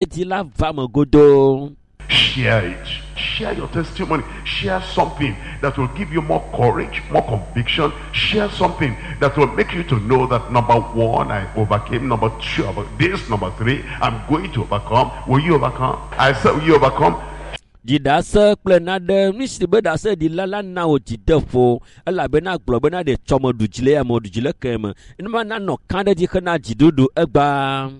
dzi la va me godoo. Share it. Share your testimony. Share something that will give you more courage, more conviction. Share something that will make you to know that number one, I overcame. Number two, this. Number three, I'm going to overcome. Will you overcome? I said, will you overcome? Dzi ɖase kple naɖe nu si be ɖase ɖila la na wò dzideƒo elabena gblɔ bena ɖe tsɔme ɖu dzi le ya me ɖu dzi le ke me enuma nanɔ kã ɖe dzi hena dziɖuɖu egbaa.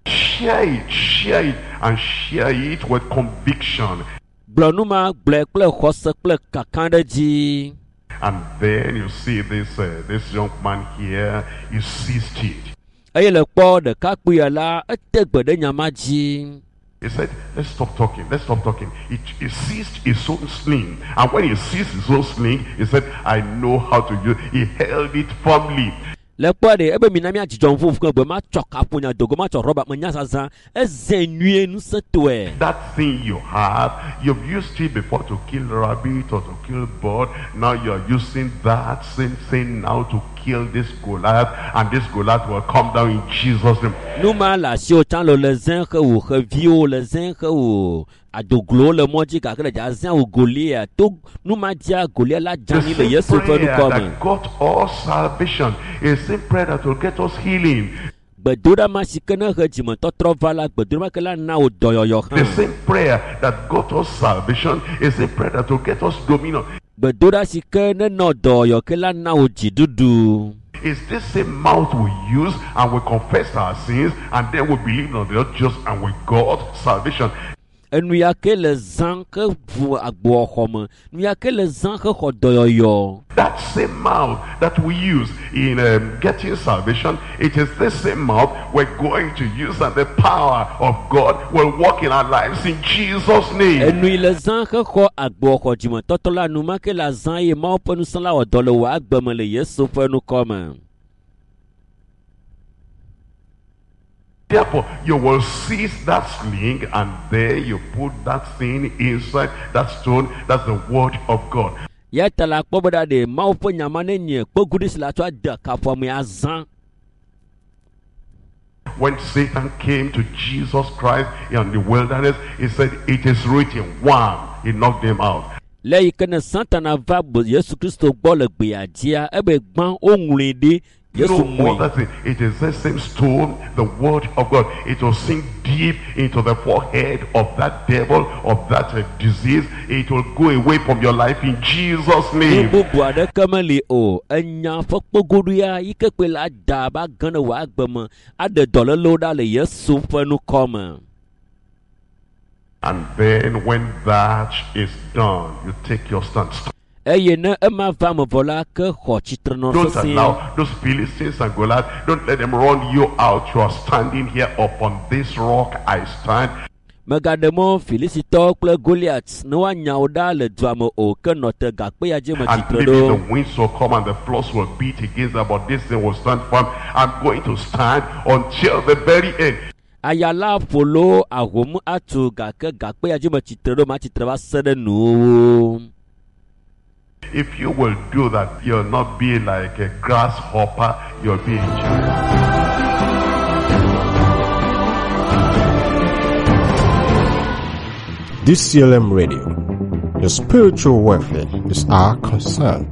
Share it, share it, and share it with conviction. Gblɔ nu ma gblɔe kple xɔse kple kaka ɖe dzi. And then you see this this young man here, he seized it. Eye le kpɔ ɖekakpuia la ete gbe ɖe nya ma dzi. He said, let's stop talking, let's stop talking. He seized his own sling. And when he seized his own sling, he said, I know how to use it. He held it firmly. Le kpɔ ɖe ebe mina mía dzidzɔ ŋu ƒe gbe matsɔ kaƒonya dogo matsɔ rɔba menya zazã eze nyuie ŋusẽtɔe. That thing you have, you've used it before to kill rabbit or to kill bird. Now you're using that same thing now to kill this Goliath, and this Goliath will come down in Jesus' name. Nu ma le asiwò tsã le le zẽ xe wò xeviwo le zẽ xe wò adoglowo le mɔ dzi gake le dza zẽ wò Goliath to nu ma dzia Goliath la dze The anyi le same Yesu ƒe prayer ŋkɔ me. that got us salvation is the same prayer that will get us healing. Gbedoɖa ma si ke ne he dzimetɔtrɔ va la, gbedoɖa ma ke la na wò dɔyɔyɔ The hã. same prayer that got us salvation is the prayer that will get us dominion. Gbedoɖa si ke nenɔ dɔyɔyɔ ke la na wò dziɖuɖu. It's this same mouth we use and we confess our sins and then we believe on the Lord Jesus and we got salvation. Enu ya ke le zã ke ʋu agboa xɔ me. Nu ya ke le zã ke xɔ dɔyɔyɔ. That same mouth that we use in getting salvation, it is this same mouth we're going to use, and the power of God will work in our lives in Jesus' name. Enu yi le zã ke xɔ agboa xɔ dzimetɔtɔ la, nu ma ke le zã ye Mawu ƒe ŋusẽ la wɔ dɔ le wò agbe me le Yesu ƒe ŋkɔ me. Therefore, you will seize that sling and then you put that thing inside that stone. That's the word of God. Ya ta la kpɔ be ɖa ɖe Mawu ƒe nya ma ne nye kpeguɖi si la tsɔ ade kaƒoa me azã. When Satan came to Jesus Christ in the wilderness, he said, it is written. One, he knocked him out. Le yi ke ne Satana va Yesu Kristo gbɔ le gbea dzia, ebe gbã woŋlɔe ɖi Yesu No mɔe. other thing. It is the same stone, the word of God. It will sink deep into the forehead of that devil, of that disease. It will go away from your life in Jesus' Nu name. bubu aɖeke meli o. Enya ƒe kpegoɖoea yi ke kpe la da ba ge ɖe wò agbe me aɖe dɔlélewo ɖa le Yesu ƒe ŋkɔ me. And then when that is done, you take your stand. Eye ne ema va me vɔ la, ke xɔ tsitrenɔ Don't sesĩe. allow those Philistines and Goliath, don't let them run you out. You are standing here upon this rock I stand. Megaɖe mɔ Filistitɔwo kple Goliath ne woanya wo ɖa le dua me o, ke nɔ te gakpe ya dzi me And tsitre maybe ɖo. the winds will come and the floods will beat against them, but this thing will stand firm. I'm going to stand until the very end. Aya la ƒo lo ahom atu gake gakpe ya dzi me tsitre ɖo, matsitre va se ɖe nuwòwo. If you will do that, you'll not be like a grasshopper, you'll be a giant. DCLM Radio, your spiritual welfare is our concern.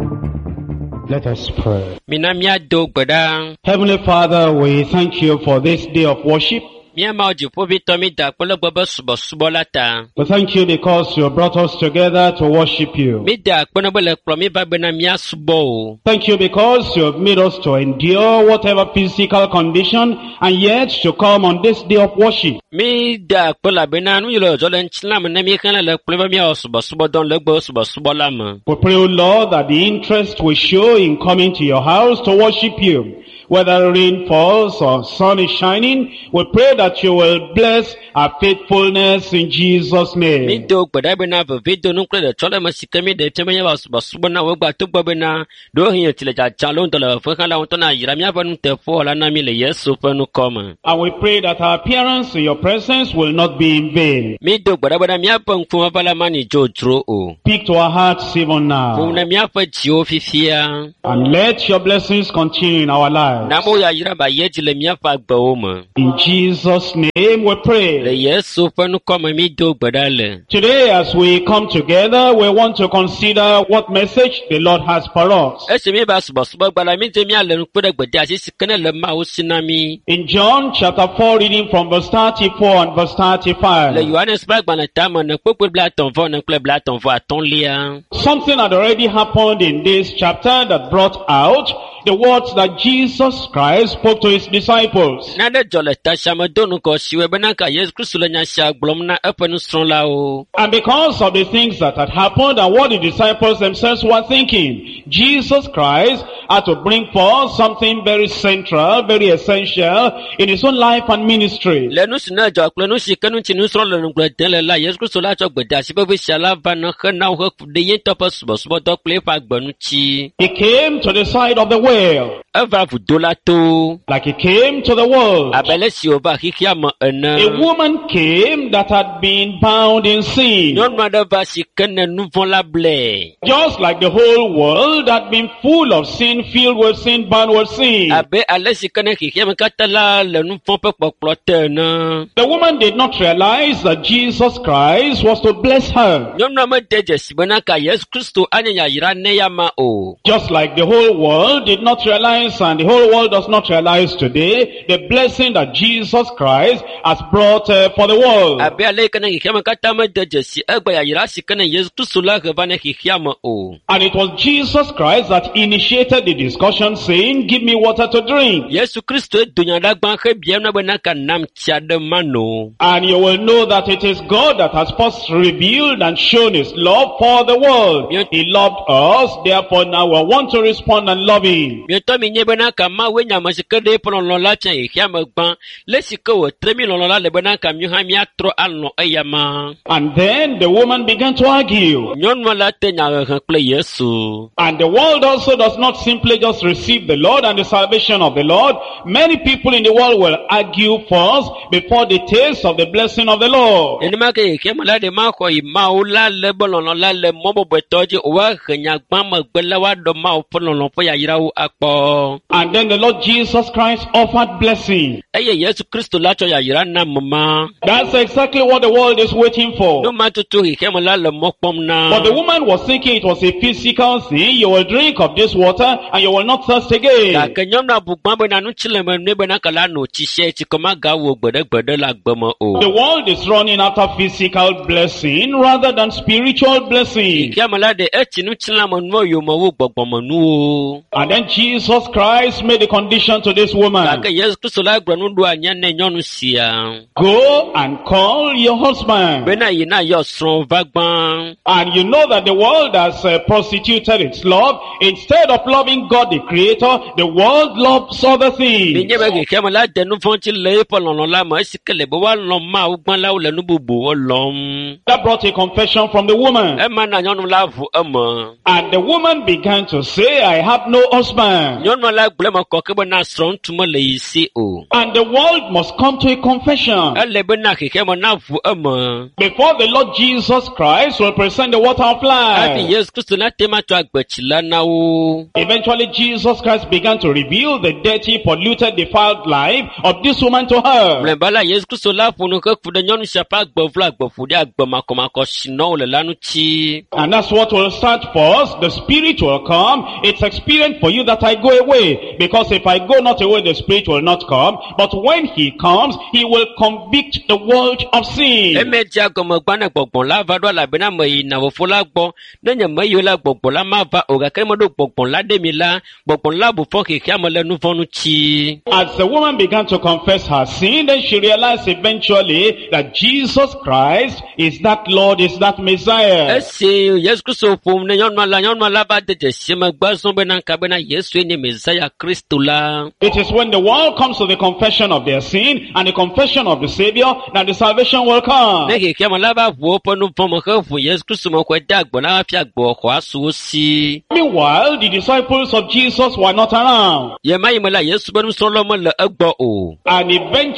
Let us pray. Mina míado gbe ɖa. Heavenly Father, we thank you for this day of worship. Mía Mawu dziƒoʋĩtɔ mi da akpe le gbɔ be subɔsubɔ la ta. We thank you because you brought us together to worship you. Mi da akpe na be le kplɔ mi va bena míasubɔ o. Thank you because you have made us to endure whatever physical condition and yet to come on this day of worship. Mi da akpe elabena nu yi le dzɔdzɔ le ŋutilã me ne mi xlẽ le kplɔ be míawɔ subɔsubɔdɔ le egbe subɔsubɔ la me. We pray, O Lord, that the interest we show in coming to your house to worship you, whether rain falls or sun is shining, we pray that you will bless our faithfulness in Jesus' Mi name. do gbe ɖa bena veviedonu kple ɖetsɔleme si ke mi ɖe fia be míawɔ subɔsubɔ na wò egbea togbɔ bena ɖewohĩ tsi le dzadza lo ŋdɔ le fefe hã la ŋutɔ na yra míaƒe nuteƒewɔla na mi le Yesu ƒe ŋkɔ me. And we pray that our appearance in your presence will not be in vain. Mi do gbe ɖa bena míaƒe ŋkume la manyi dzodzro o. Speak to our hearts even now. Ƒo ne míaƒe dziwo fifia And let your blessings continue in our lives. lives. Na mo yayra ba ye dzi le míaƒe agbewo me. In Jesus' name we Le pray. Yesu ƒe ŋkɔme mi do gbe ɖa le. Today as we come together, we want to consider what message the Lord has for us. Esi mi va subɔsubɔgba la, mi dze míale nu kpe ɖe gbedeasi si ke ne le Mawu si na mi. In John chapter 4, reading from verse 34 and verse Le 35. Yohanes ƒe agbalẽ tame ne kpukpui 34 kple 35. Something had already happened in this chapter that brought out the words that Jesus Christ spoke to his disciples. Nane dzɔ le ta sia me do ŋgɔ si wɔe bena ka Yesu Kristu le nya sia gblɔm na eƒe nusrɔ̃lawo. And because of the things that had happened and what the disciples themselves were thinking, Jesus Christ had to bring forth something very central, very essential in his own life and ministry. Le nu si ne dzɔ kple nu si ke ŋuti nusrɔ̃ le ŋugble dem le la, Yesu Kristu la tsɔ gbedeasi vevi sia la va na hena wo heku ɖe ye ŋutɔ ƒe subɔsubɔdɔ kple eƒe agbe ŋuti. He came to the side of the well, Eva vudo la to like he came to the world. abe ale si wòva xexea me ene. A woman came that had been bound in sin. Nyɔnu aɖe va si ke ne nu vɔ̃ la blɛ. Just like the whole world had been full of sin, filled with sin, bound with sin. Abe ale si ke ne xexea me katã la le nu vɔ̃ ƒe kpɔkplɔ te ene. The woman did not realize that Jesus Christ was to bless her. Nyɔnua mede dzesi bena ka Yesu Kristo anye yayra ne ya ma o. Just like the whole world did not realize and the whole world does not realize today the blessing that Jesus Christ has brought for the world. Abe ale yi ke ne xexea me katã mede dzesi egbe yayra si ke ne Yesu Kristo la he va ne xexea me o. And it was Jesus Christ that initiated the discussion saying, give me water to drink. Yesu Kristo do nya ɖa gbã hebia na bena ka nam tsi aɖe mano. And you will know that it is God that has first revealed and shown his love for the world. Yes. He loved us, therefore now we want to respond and love him. Mietɔ mi nye bena ka Mawu nye ame si ke ɖe eƒe lɔlɔ̃ la fia xexea me gbã. Le si ke wòtre mi lɔlɔ̃ la le bena ka míawo hã míatrɔ alɔ̃ eya ma. And then the woman began to argue. Nyɔnua la te nyahehe kple Yesu. And the world also does not simply just receive the Lord and the salvation of the Lord. Many people in the world will argue first before the taste of the blessing of the Lord. Nenema ke xexea me la ɖe maxɔ yi Mawu la le be lɔlɔ̃ la le mɔ bɔbɔetɔ dzi o woahe nya gbã megbe la woaɖɔ Mawu ƒe lɔlɔ̃ ƒe yayrawo akpɔ. And then the Lord Jesus Christ offered blessing. Eye Yesu Kristo la tsɔ yayra na ame ma. That's exactly what the world is waiting for. Nu ma tutu xexea me la le mɔ kpɔm na. But the woman was thinking it was a physical thing. You will drink of this water and you will not thirst again. Gake nyɔnua bu gbã bena nutsi le me nɛ bena ke la no tsi sia tsi ke magawɔ gbeɖegbeɖe le agbe me o. The world is running after physical blessing rather than spiritual blessing. Xexea me la ɖe etsi nutsilãmenuwo yome wu gbɔgbɔmenuwo. And then Jesus Christ made a condition to this woman. Gake Yesu Kristo la gblɔ nuɖoanyi ne nyɔnu sia Go and call your husband. bena yi na yɔ srɔ̃ va gbã. And you know that the world has prostituted its love. Instead of loving God the Creator, the world loves other things. Menye be xexea me la de nu vɔ̃ dzi le eƒe lɔlɔ̃ la me esi ke le be woalɔ̃ Mawu gbã la wole nu bubuwo lɔ̃m. That brought a confession from the woman. Ema na nyɔnu la ʋu eme. And the woman began to say, I have no husband. Nyɔnua la gblɔ eme kɔ ke bena srɔ̃ŋutsu mele yi si o. And the world must come to a confession. Ele bena xexea me naʋu eme. Before the Lord Jesus Christ will present the water of Hafi life. Yesu Kristo nate ŋu atsɔ agbetsi la na wo. Eventually Jesus Christ began to reveal the dirty, polluted, defiled life of this woman to her. Mlɔeba la Yesu Kristo la ƒo nu heku ɖe nyɔnu sia ƒe agbe vlo, agbe ƒo ɖi, agbe makɔmakɔ si nɔm wòle la ŋuti. And that's what will start first. The Spirit will come. It's expedient for you that I go away. Because if I go not away, the Spirit will not come. But when he comes, he will convict the world of sin. Eme dzea gɔme gbã ne gbɔgbɔ la va ɖo elabena meyina fofo la gbɔ. Ne nye meyi o la, gbɔgbɔ la mava o gake ne meɖo gbɔgbɔ la ɖe mi la, gbɔgbɔ la bu fɔ xexea me le nu vɔ̃ ŋuti. As the woman began to confess her sin, then she realized eventually that Jesus Christ is that Lord, is that Messiah. Esi Yesu Kristo ƒom ne nyɔnua la, nyɔnua la va de dzesi megbe zɔ bena ka bena Yesue nye Mesaya Kristo la. It is when the world comes to the confession of their sin and the confession of the Savior that the salvation will come. Ne xexea me la va ʋu woƒe nu vɔ̃ me heʋu Yesu Kristo me xɔe de agbe la hafi agbe xɔ asu wo si. Meanwhile, the disciples of Jesus were not around. Ye ma yi me la, Yesu ƒe nusrɔ̃lawo mele egbɔ o. And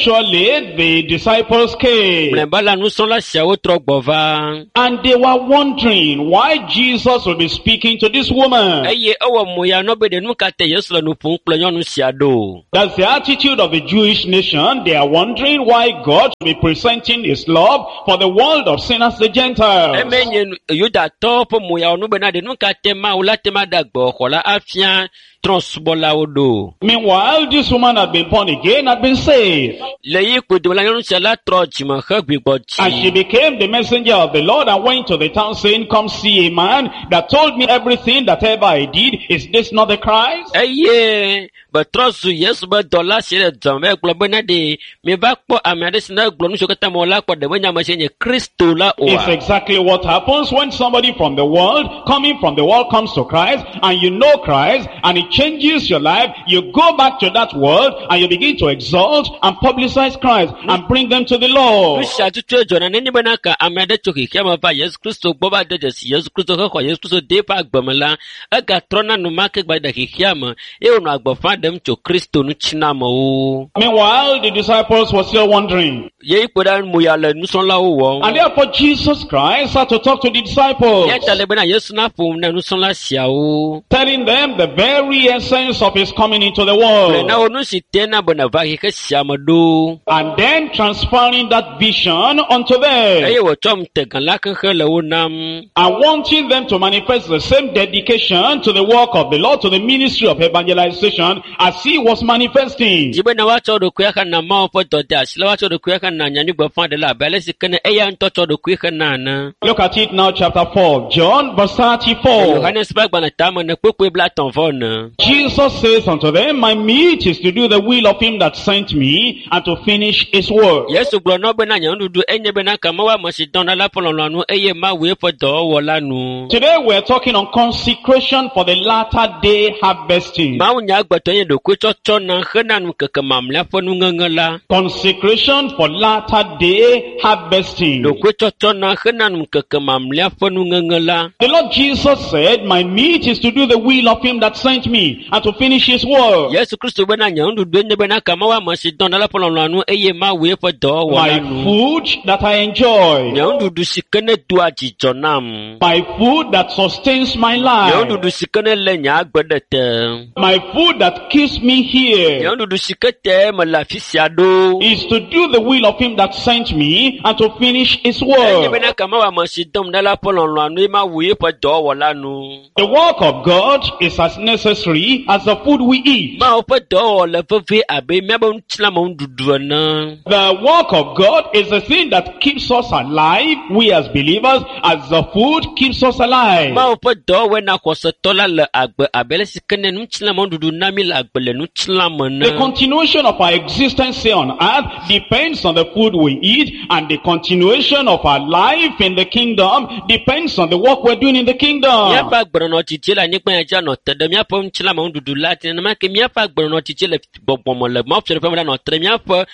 eventually, the disciples came. Mlɔeba la, nusrɔ̃la siawo trɔ gbɔ va. And they were wondering why Jesus would be speaking to this woman. Eye ewɔ mo ya nɔ be ɖe nu ka te Yesu le nu ƒom kple kplɔ nyɔnu sia ɖo. That's the attitude of the Jewish nation. They are wondering why God should be presenting his love for the world of sinners, the Gentiles. Eme nye Yudatɔwo ƒe moyawo nu bena ɖe nu ka te Mawu la te ma ɖe agbexɔ la afia trɔ̃subɔlawo ɖo. Meanwhile, this woman had been born again, had been saved. Le yi kpodome la nyɔnu sia la trɔ dzime hegbugbɔ And she dzi. became the messenger of the Lord and went to the town saying, Come see a man that told me everything that ever I did. Is this not the Christ? Eye betrɔ zu Yesu be dɔla si le dɔme be gblɔ bena ɖe mieva kpɔ ame aɖe si ne gblɔ nu siwo katã mewɔ la kpɔ ɖe menye ame si nye Kristo la It's oa. exactly what happens when somebody from the world, coming from the world, comes to Christ, and you know Christ, and it changes your life. You go back to that world, and you begin to exalt and publicize Christ, and bring them to the Nu Lord. sia tutu dzɔna nenye bena ka ame aɖe tso xexea me va Yesu Kristo gbɔ va de dzesi Yesu Kristo hexɔ Yesu Kristo de eƒe agbe me la, egatrɔna enumake gba ɖe xexea me eye wònɔ agbeƒã ɖem tso Kristo ŋuti na amewo. Meanwhile, the disciples were still wondering. Ye kpe ɖe moya le nusrɔ̃lawo wɔm. And therefore, Jesus Christ had to talk to the disciples, Eya ta le bena Yesu naƒo nu na nusrɔ̃la siawo. telling them the very essence of his coming into the Gblɔe world. na wo nu si te na be neva xexe sia me ɖo. And then transferring that vision unto them. Eye wòtsɔ ŋutegã la kexe le wo nam. And wanting them to manifest the same dedication to the work of the Lord, to the ministry of evangelization, as he was manifesting. Dzi bena woatsɔ ɖokui axena Mawu ƒe dɔdeasi la, woatsɔ ɖokui axena nyanyuigbeƒãɖela abe ale si ke ne eya ŋutɔ tsɔ ɖokui xena ene. Look at it now, chapter 4, John, verse 34. Yohanes ƒe agbalẽ tame ne kpukpui blaetɔ̃ vɔ ene. Jesus says unto them, My meat is to do the will of him that sent me, and to finish his work. Yesu gblɔ na wo bena nye nuɖuɖu enye bena ke mewɔ ame si dɔm ɖa la ƒe lɔlɔ̃nu eye mawu eƒe dɔwɔwɔ la nu. Today we're talking on consecration for the latter day harvesting. Mawu nya agbetɔ nye ɖokuitsɔtsɔ na hena nukeke mamlɛa ƒe nuŋeŋe la. Consecration for latter day harvesting. Ɖokuitsɔtsɔ na hena nukeke mamlɛa ƒe nuŋeŋe la. The Lord Jesus said, My meat is to do the will of him that sent me and to finish his work. Yesu Kristo bena nye nuɖuɖu enye bena ke mewɔ ame si dɔm ɖa la ƒe lɔlɔ̃nu eye mawu eƒe dɔwɔwɔ My la nu. food that I enjoy. Nye nuɖuɖu si ke ne doa dzidzɔ nam. My food that sustains my Nye life. nuɖuɖu si ke ne lé nye agbe ɖe te. My food that keeps me Nye here nuɖuɖu si ke te mele afi sia ɖo. is to do the will of him that sent me and to finish his Enye work. bena ke mewɔ ame si dɔm ɖa la ƒe lɔlɔ̃nu eye mawu eƒe dɔwɔwɔ la nu. The work of God is as necessary as the food we eat. Mawu ƒe dɔwɔwɔ le vevie abe míaƒe ŋutilãme nuɖuɖu ene. The work of God is the thing that keeps us alive, we as believers, as the food keeps us alive. Mawu ƒe dɔwɔwɔe na xɔsetɔ la le agbe abe ale si ke ne ŋutilãme nuɖuɖu na mí le agbe le ŋutilãme The ene. continuation of our existence here on earth depends on the food we eat, and the continuation of our life in the kingdom depends on the work we're doing in the kingdom. Míaƒe agbenɔnɔ tsitsi le anyigba ya dzi anɔ te ɖe míaƒe ŋutilãme nuɖuɖu la dzi nenema ke míaƒe agbenɔnɔ tsitsi le gbɔgbɔme le Mawu fiaɖuƒe me la nɔ te ɖe míaƒe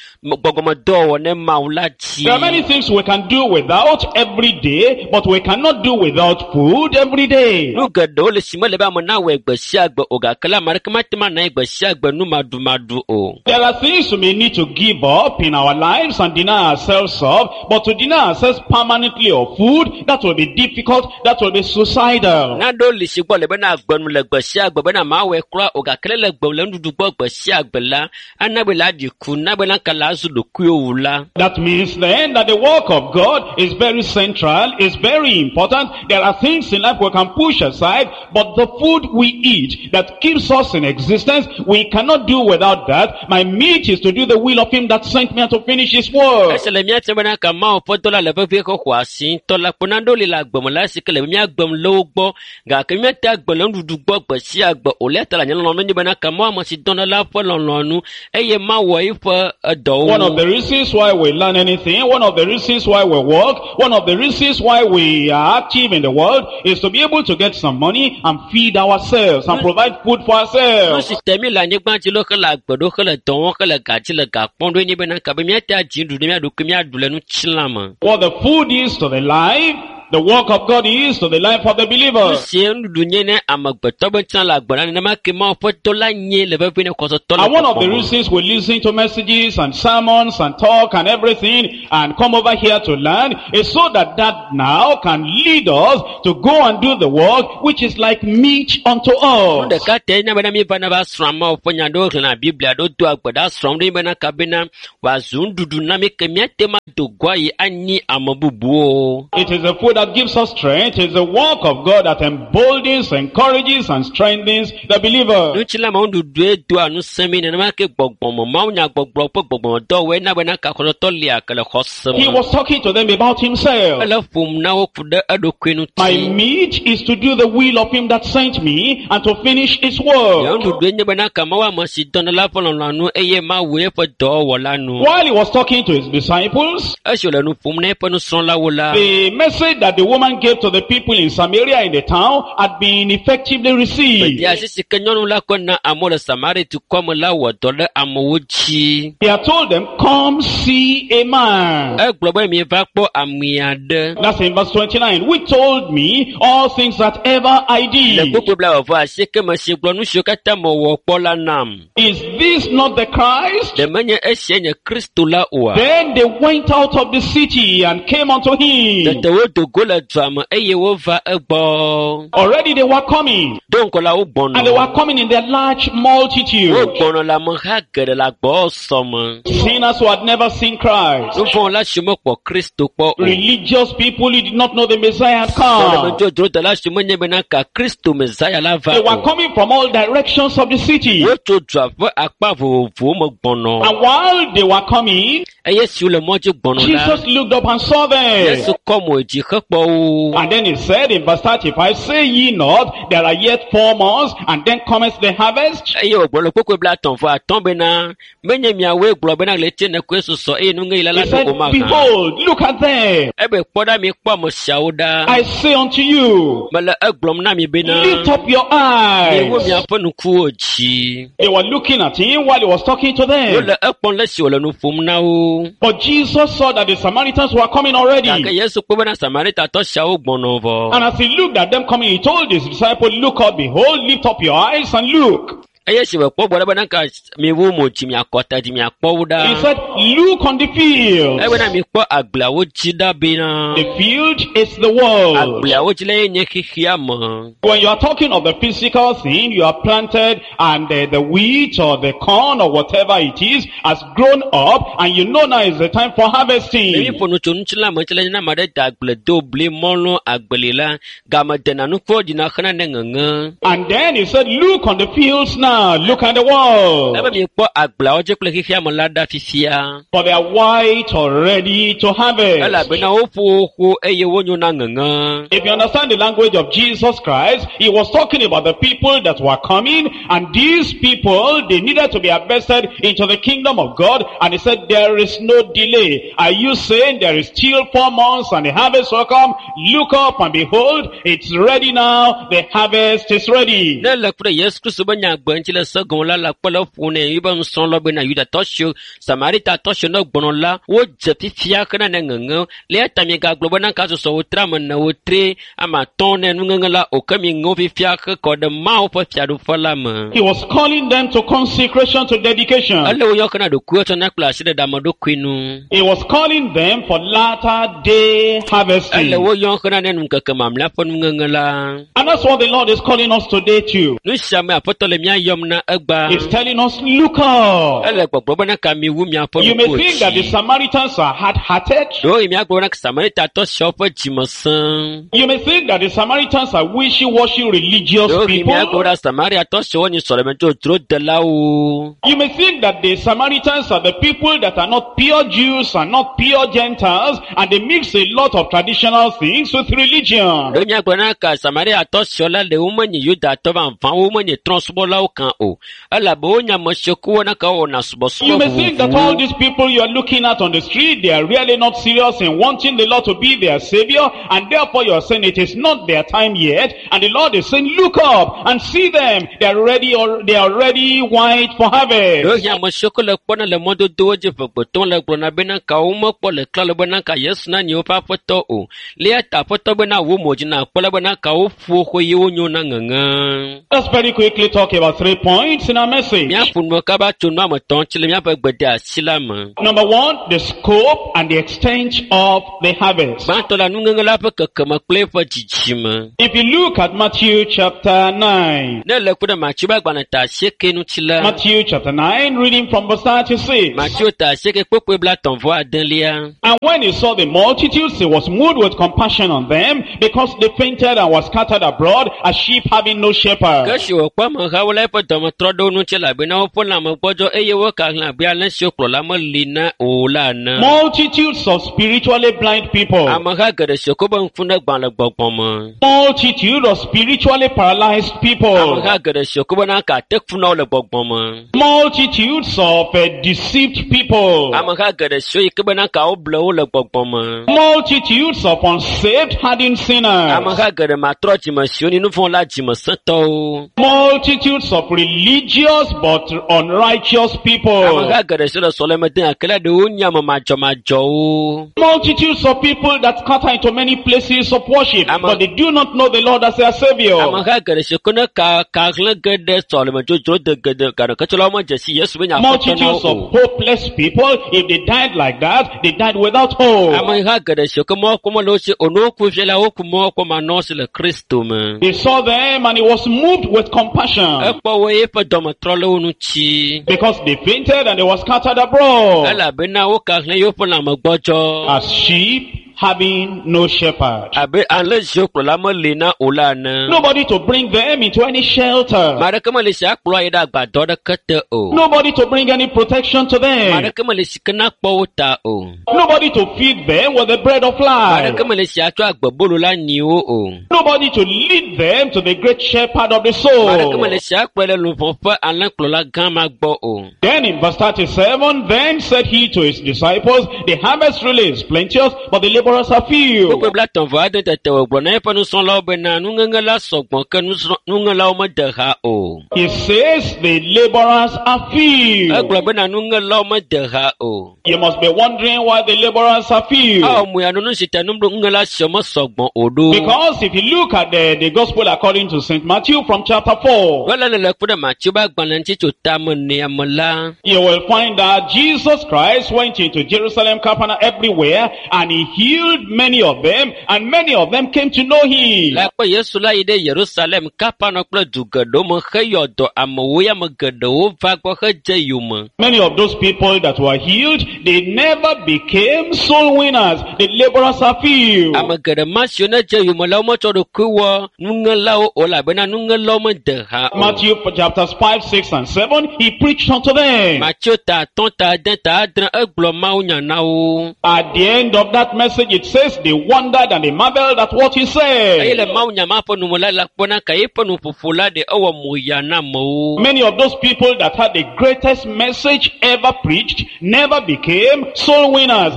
gbɔgbɔmedɔwɔwɔ ne Mawu la dzi. There are many things we can do without every day, but we cannot do without food every day. Nu geɖewo le si mele be ame nawɔe gbe sia gbe o gake la ame aɖeke mate ŋu anɔ anyi gbe sia gbe nu maɖumaɖu o. There are things we may need to give up in our lives and deny ourselves of, but to deny ourselves permanently of food, that will be difficult, that will be suicidal. Naɖewo li si gbɔ le bena agbenu le gbe sia gbe bena mawɔe kura o gake le le gbe le nuɖuɖu gbɔ gbe sia gbe la, ana be la ɖi ku, na be la ka la azu ɖokuiwò la. That means then that the work of God is very central, is very important. There are things in life we can push aside, but the food we eat that keeps us in existence, we cannot do without that. My meat is to do the will of him that sent me and to finish his work. Esi le mía tia bena ka Mawu ƒe dɔ la le vevie xɔ asi ŋutɔ la kpo naɖewo li le agbe me la esi ke le mía gbem le wo gbɔ gake míate agbe le nuɖuɖu gbɔ gbe sia gbe o le ta le nye lɔlɔ̃nu nye bena ka Mawu ame si dɔna la ƒe lɔlɔ̃nu eye mawɔ eƒe edɔwo. One of the reasons why we learn anything, one of the reasons why we work, one of the reasons why we are active in the world is to be able to get some money and feed ourselves and provide food for Nu ourselves. si te mí le anyigba dzi lo hele agbe ɖo hele dɔ wɔm hele ga dzi le ga kpɔm ɖo nye bena ka be míate adzi nuɖuɖu mía ɖokui míaɖu le ŋutilã me. What the food is to the life the work of God is to the life of the Nu believer. si nuɖuɖu nye ne amegbetɔ be ŋutilã le agbe la nenema ke Mawu ƒe dɔ la nye le vevie ne xɔsetɔ le And one of the gbɔgbɔ me. reasons we listen to messages and sermons and talk and everything and come over here to learn is so that that now can lead us to go and do the work which is like meat unto Nu us. ɖeka tae nye bena míeva na va srɔ̃ Mawu ƒe nya ɖewo xlẽna Biblia ɖewo doa gbe ɖa srɔ̃m ɖe bena kabena wòazu nuɖuɖu na mí ke míate ŋu ado go ayi anyi ame bubuwo. It is the food that gives us strength. It is the work of God that emboldens, encourages, and strengthens the believer. Ŋutilã me nuɖuɖue doa ŋusẽ mí nenema ke gbɔgbɔme mawunyagbɔgblɔ ƒe gbɔgbɔmedɔwɔe na bena ka xɔsetɔ lia ke le xɔse He me. was talking to them about himself. Ele ƒom na wo ku ɖe eɖokui My ŋuti. meat is to do the will of him that sent me and to finish his Nye work. nuɖuɖue nye bena ka Mawu ame si dɔna la ƒe lɔlɔ̃nu eye Mawu eƒe dɔwɔwɔ la nu. While he was talking to his disciples, Esi wòle nu ƒom na eƒe nusrɔ̃lawo la, the message that the woman gave to the people in Samaria in the town had been effectively received. Gbedeasi si ke nyɔnu la kɔ na amewo le Samaria dukɔ me la wɔ dɔ ɖe amewo dzi. He had told them, come see a man. Egblɔ be mieva kpɔ ame aɖe. That's in verse 29. Which told me all things that ever I Le did. kpukpui 29 me si gblɔ nu siwo katã mewɔ kpɔ la nam. Is this not the Christ? Ɖe menye esia nye Kristo la oa? Then they went out of the city and came unto him. Tete wodo go le dua me eye wova egbɔ. Already they were coming. Do ŋgɔ la wogbɔnɔ. And they were coming in their large multitude. Wogbɔnɔ le ameha geɖe le agbɔsɔ me. Sinners who had never seen Christ. Nuvɔ̃wɔla siwo mekpɔ Kristo kpɔ o. Religious people who did not know the Messiah had come. Sɔlemedzodzrodela siwo menye bena ka Kristo Mesaya la va They were o. coming from all directions of the city. Wotso dua ƒe akpa vovovowo me gbɔnɔ. And while they were coming, Eye siwo le mɔ dzi gbɔnɔ la, Jesus looked up and saw them. Yesu kɔ mo dzi hekpɔ wo. And then he said in verse 35, Say ye not, there are yet 4 months, and then cometh the harvest? Eye wògblɔ le kpukpui 35 bena, menye miawoe gblɔ bena ɣleti ene koe susɔ eye nuŋeɣi la He la ɖo said, o mahã. Behold, look at them. Ebe kpɔ ɖa mikpɔ ame siawo ɖa. I say unto you, Mele egblɔm na mi bena, lift up your miwu eyes. miaƒe ŋkuwo dzi. They were looking at him while he was talking to them. Wole ekpɔm le esi wòle nu ƒom na wo. But Jesus saw that the Samaritans were coming already. Gake Yesu kpɔ bena Samaritatɔ siawo gbɔnɔ vɔ. And as he looked at them coming, he told his disciple, Look up, behold, lift up your eyes and look. Eye esi wòkpɔ gbɔ ɖe bena ka miwu mo dzi miakɔ ta dzi miakpɔ wo He ɖa. said, Look on the field. Ebena mikpɔ agbleawo dzi ɖa bena The field is the world. agbleawo dzi la ye nye xexea me. When you are talking of the physical thing, you are planted and the wheat or the corn or whatever it is has grown up and you know now is the time for Ne harvesting. míeƒo nu tso ŋutilã me ŋuti la, ne ame aɖe da agble do bli mɔlu agbeli la, game dena nukuwo ɖina xena ne ŋeŋe. And then he said, look on the fields now, look at the world. Ebe mikpɔ agbleawo dzi kple xexea me la ɖa fifia. For they are white already to harvest. Elabena woƒo wo ƒo eye wonyo na ŋeŋe. If you understand the language of Jesus Christ, he was talking about the people that were coming, and these people, they needed to be harvested into the kingdom of God, and he said, there is no delay. Are you saying there is still 4 months and the harvest will come? Look up and behold, it's ready now, the harvest is ready. Ne le ku ɖe Yesu Kristo be nyagbe ŋuti le se gɔme la, le akpɔ le ƒo nɛ yi be nusrɔ̃lawo bena Yudatɔ siwo, Samaritatɔ siwo ne gbɔnɔ la, wodze fifia xena ne ŋeŋe. Le eya ta miegagblɔ bena ka susɔ wotre ame ene, wotre ame atɔ̃ ne nuŋeŋe la o, ke miŋe wo fifia hekɔ ɖe Mawu ƒe fiaɖuƒe la me. He was calling them to consecration, to dedication. Ele wo yɔ xena ɖokuiwo tsɔna kple asi ɖe ame ɖokui nu. He was calling them for latter day harvesting. Ele wo yɔ xena ne ŋkeke mamlɛa ƒe nuŋeŋe la. And that's what the Lord is calling us today too. Nu sia me Aƒetɔ le mía yɔm na egbea. He's telling us, look up. Ele gbɔgblɔ bena ka miwu miaƒe You may ŋkuwo think that the dzi. Samaritans are hard-hearted. Ɖewohĩ míagblɔ bena Samaritatɔ siawo ƒe dzime sẽ. You may think that the Samaritans are wishy-washy religious Ɖewohĩ míagblɔ people. bena Samariatɔ siawo nye sɔlemedzodzrodelawo. You may think that the Samaritans are the people that are not pure Jews and not pure Gentiles, and they mix a lot of traditional things with religion. Ɖewohĩ míagblɔ bena ka Samariatɔ siawo la ɖe womenye Yudatɔ vavãwo, womenye trɔ̃subɔlawo kan o elabe wonya ame siwo ke wona ka wɔna subɔsubɔ You may think that all vovovowo. these people you are looking at on the street, they are really not serious in wanting the Lord to be their savior, and therefore you are saying it is not their time yet, and the Lord is saying, look up and see them. They are ready, or they are already white for harvest. Ɖewohĩ ame siwo ke le kpɔna le mɔdodowo dzi ʋegbetɔm le gblɔna bena ka womekpɔ le klalo bena ka Yesu na nye woƒe aƒetɔ o. Le eya ta aƒetɔ bena wo mo dzi na kpɔ la bena ka woƒo xoe ye wonyo na ŋeŋe. Let's very quickly talk about three points in our message. Míaƒo nu kaba tso nu ame etɔ̃ tsi le míaƒe gbedeasi la me. Number one, the scope and the extent of the harvest. Gbãtɔ la nuŋeŋe la ƒe kekeme kple eƒe dzidzime. If you look at Matthew chapter 9, Ne le ku ɖe Mateo ƒe agbalẽ ta asieke ŋuti la, Matthew chapter 9, reading from verse 36. Mateo ta asieke kpokpoe blatɔ̃ vɔ adelia. And when he saw the multitudes, he was moved with compassion on them, because they fainted and were scattered abroad as sheep having no Ke shepherd. esi wòkpɔ amehawo la eƒe dɔme trɔ ɖe wo ŋuti elabena woƒe lãme gbɔdzɔ eye wokahlẽ abe alẽ siwo kplɔla meli na o la ene. Multitudes of spiritually blind people. Ameha geɖe siwo ko be ŋku ne gbã le gbɔgbɔ me. Multitude of spiritually paralyzed people. Ameha geɖe siwo ko bena ka te fu na wo le gbɔgbɔ me. Multitudes of deceived people. Ameha geɖe siwo yi ke bena ka woble wo le gbɔgbɔ me. Multitudes of unsaved, hardened sinners. Ameha geɖe matrɔ dzime siwo ni nu vɔ̃ la dzime sẽtɔwo. Multitudes of religious but unrighteous people. Ameha geɖe siwo le sɔleme dem gake la ɖewo nye ame madzɔmadzɔwo. Multitudes of people that scatter into many places of worship, but they do not know the Lord as their Savior. Ameha geɖe siwo ke ne ka kahlẽ ge ɖe sɔleme dzodzro de geɖe gake tsɔla womedze si Yesu be nye aƒetɔ na Multitudes wo of o. hopeless people, if they died like that, they died without hope. Ameha geɖe siwo ke mɔkpɔ mele wo si o ne woku fia la woku mɔkpɔ manɔ si le Kristo me. They saw them and he was moved with compassion Ekpɔ wo eƒe dɔme trɔ le wo ŋuti. because they fainted and they were scattered abroad Elabena wokahlẽ yewoƒe lãme gbɔdzɔ. as sheep having no shepherd. Abe alẽ siwo kplɔla meli na o la ene. Nobody to bring them into any shelter. Ame aɖeke meli si akplɔ yi ɖe agbadɔ ɖeke te o. Nobody to bring any protection to Ame them. aɖeke meli si ke nakpɔ wo ta o. Nobody to feed them with the bread of Ame life. aɖeke meli si atsɔ agbebolo la nyi wo o. Nobody to lead them to the great shepherd of the Ame aɖeke soul. meli si akplɔe ɖe luʋɔ ƒe alẽkplɔla gã ma gbɔ o. Then in verse 37, then said he to his disciples, the harvest really is plenteous, but the laborers are few. Kpukpui blatɔ̃ vɔ ade tete wògblɔ na eƒe nusrɔ̃lawo bena nuŋeŋe la sɔgbɔ ke nuŋelawo mede ha o. He says the laborers are few. Egblɔ bena nuŋelawo mede ha o. You must be wondering why the laborers are few. Awɔ mu ya nu nu si ta nuŋela siawo mesɔgbɔ o ɖo. Because if you look at the gospel according to St. Matthew from chapter 4, Wele le le ku ɖe Mateo ƒe agbalẽ ŋuti tso tame nea me la, you will find that Jesus Christ went into Jerusalem, Capernaum, everywhere, and he healed many of them, and many of them came to know him. Le kpɔ Yesu la yi ɖe Yerusalem, Kapernaum kple du geɖewo me heyɔ dɔ amewo ya ame geɖewo va gbɔ hedze yome. Many of those people that were healed, they never became soul winners. The laborers are few. Ame geɖe ma siwo ne dze yome la, wometsɔ ɖokui wɔ nuŋelawo o elabena nuŋelawo mede ha o. Matthew chapters 5, 6, and 7, he preached unto them. Mateo ta atɔ̃ ta ade ta adre egblɔ mawunya na wo. At the end of that message, it says they wondered and they marveled at what he Eye said. le mawunya ma ƒe nume la, la kpɔna ka eƒe nuƒoƒo la ɖe ewɔ moya na amewo. Many of those people that had the greatest message ever preached never became soul winners.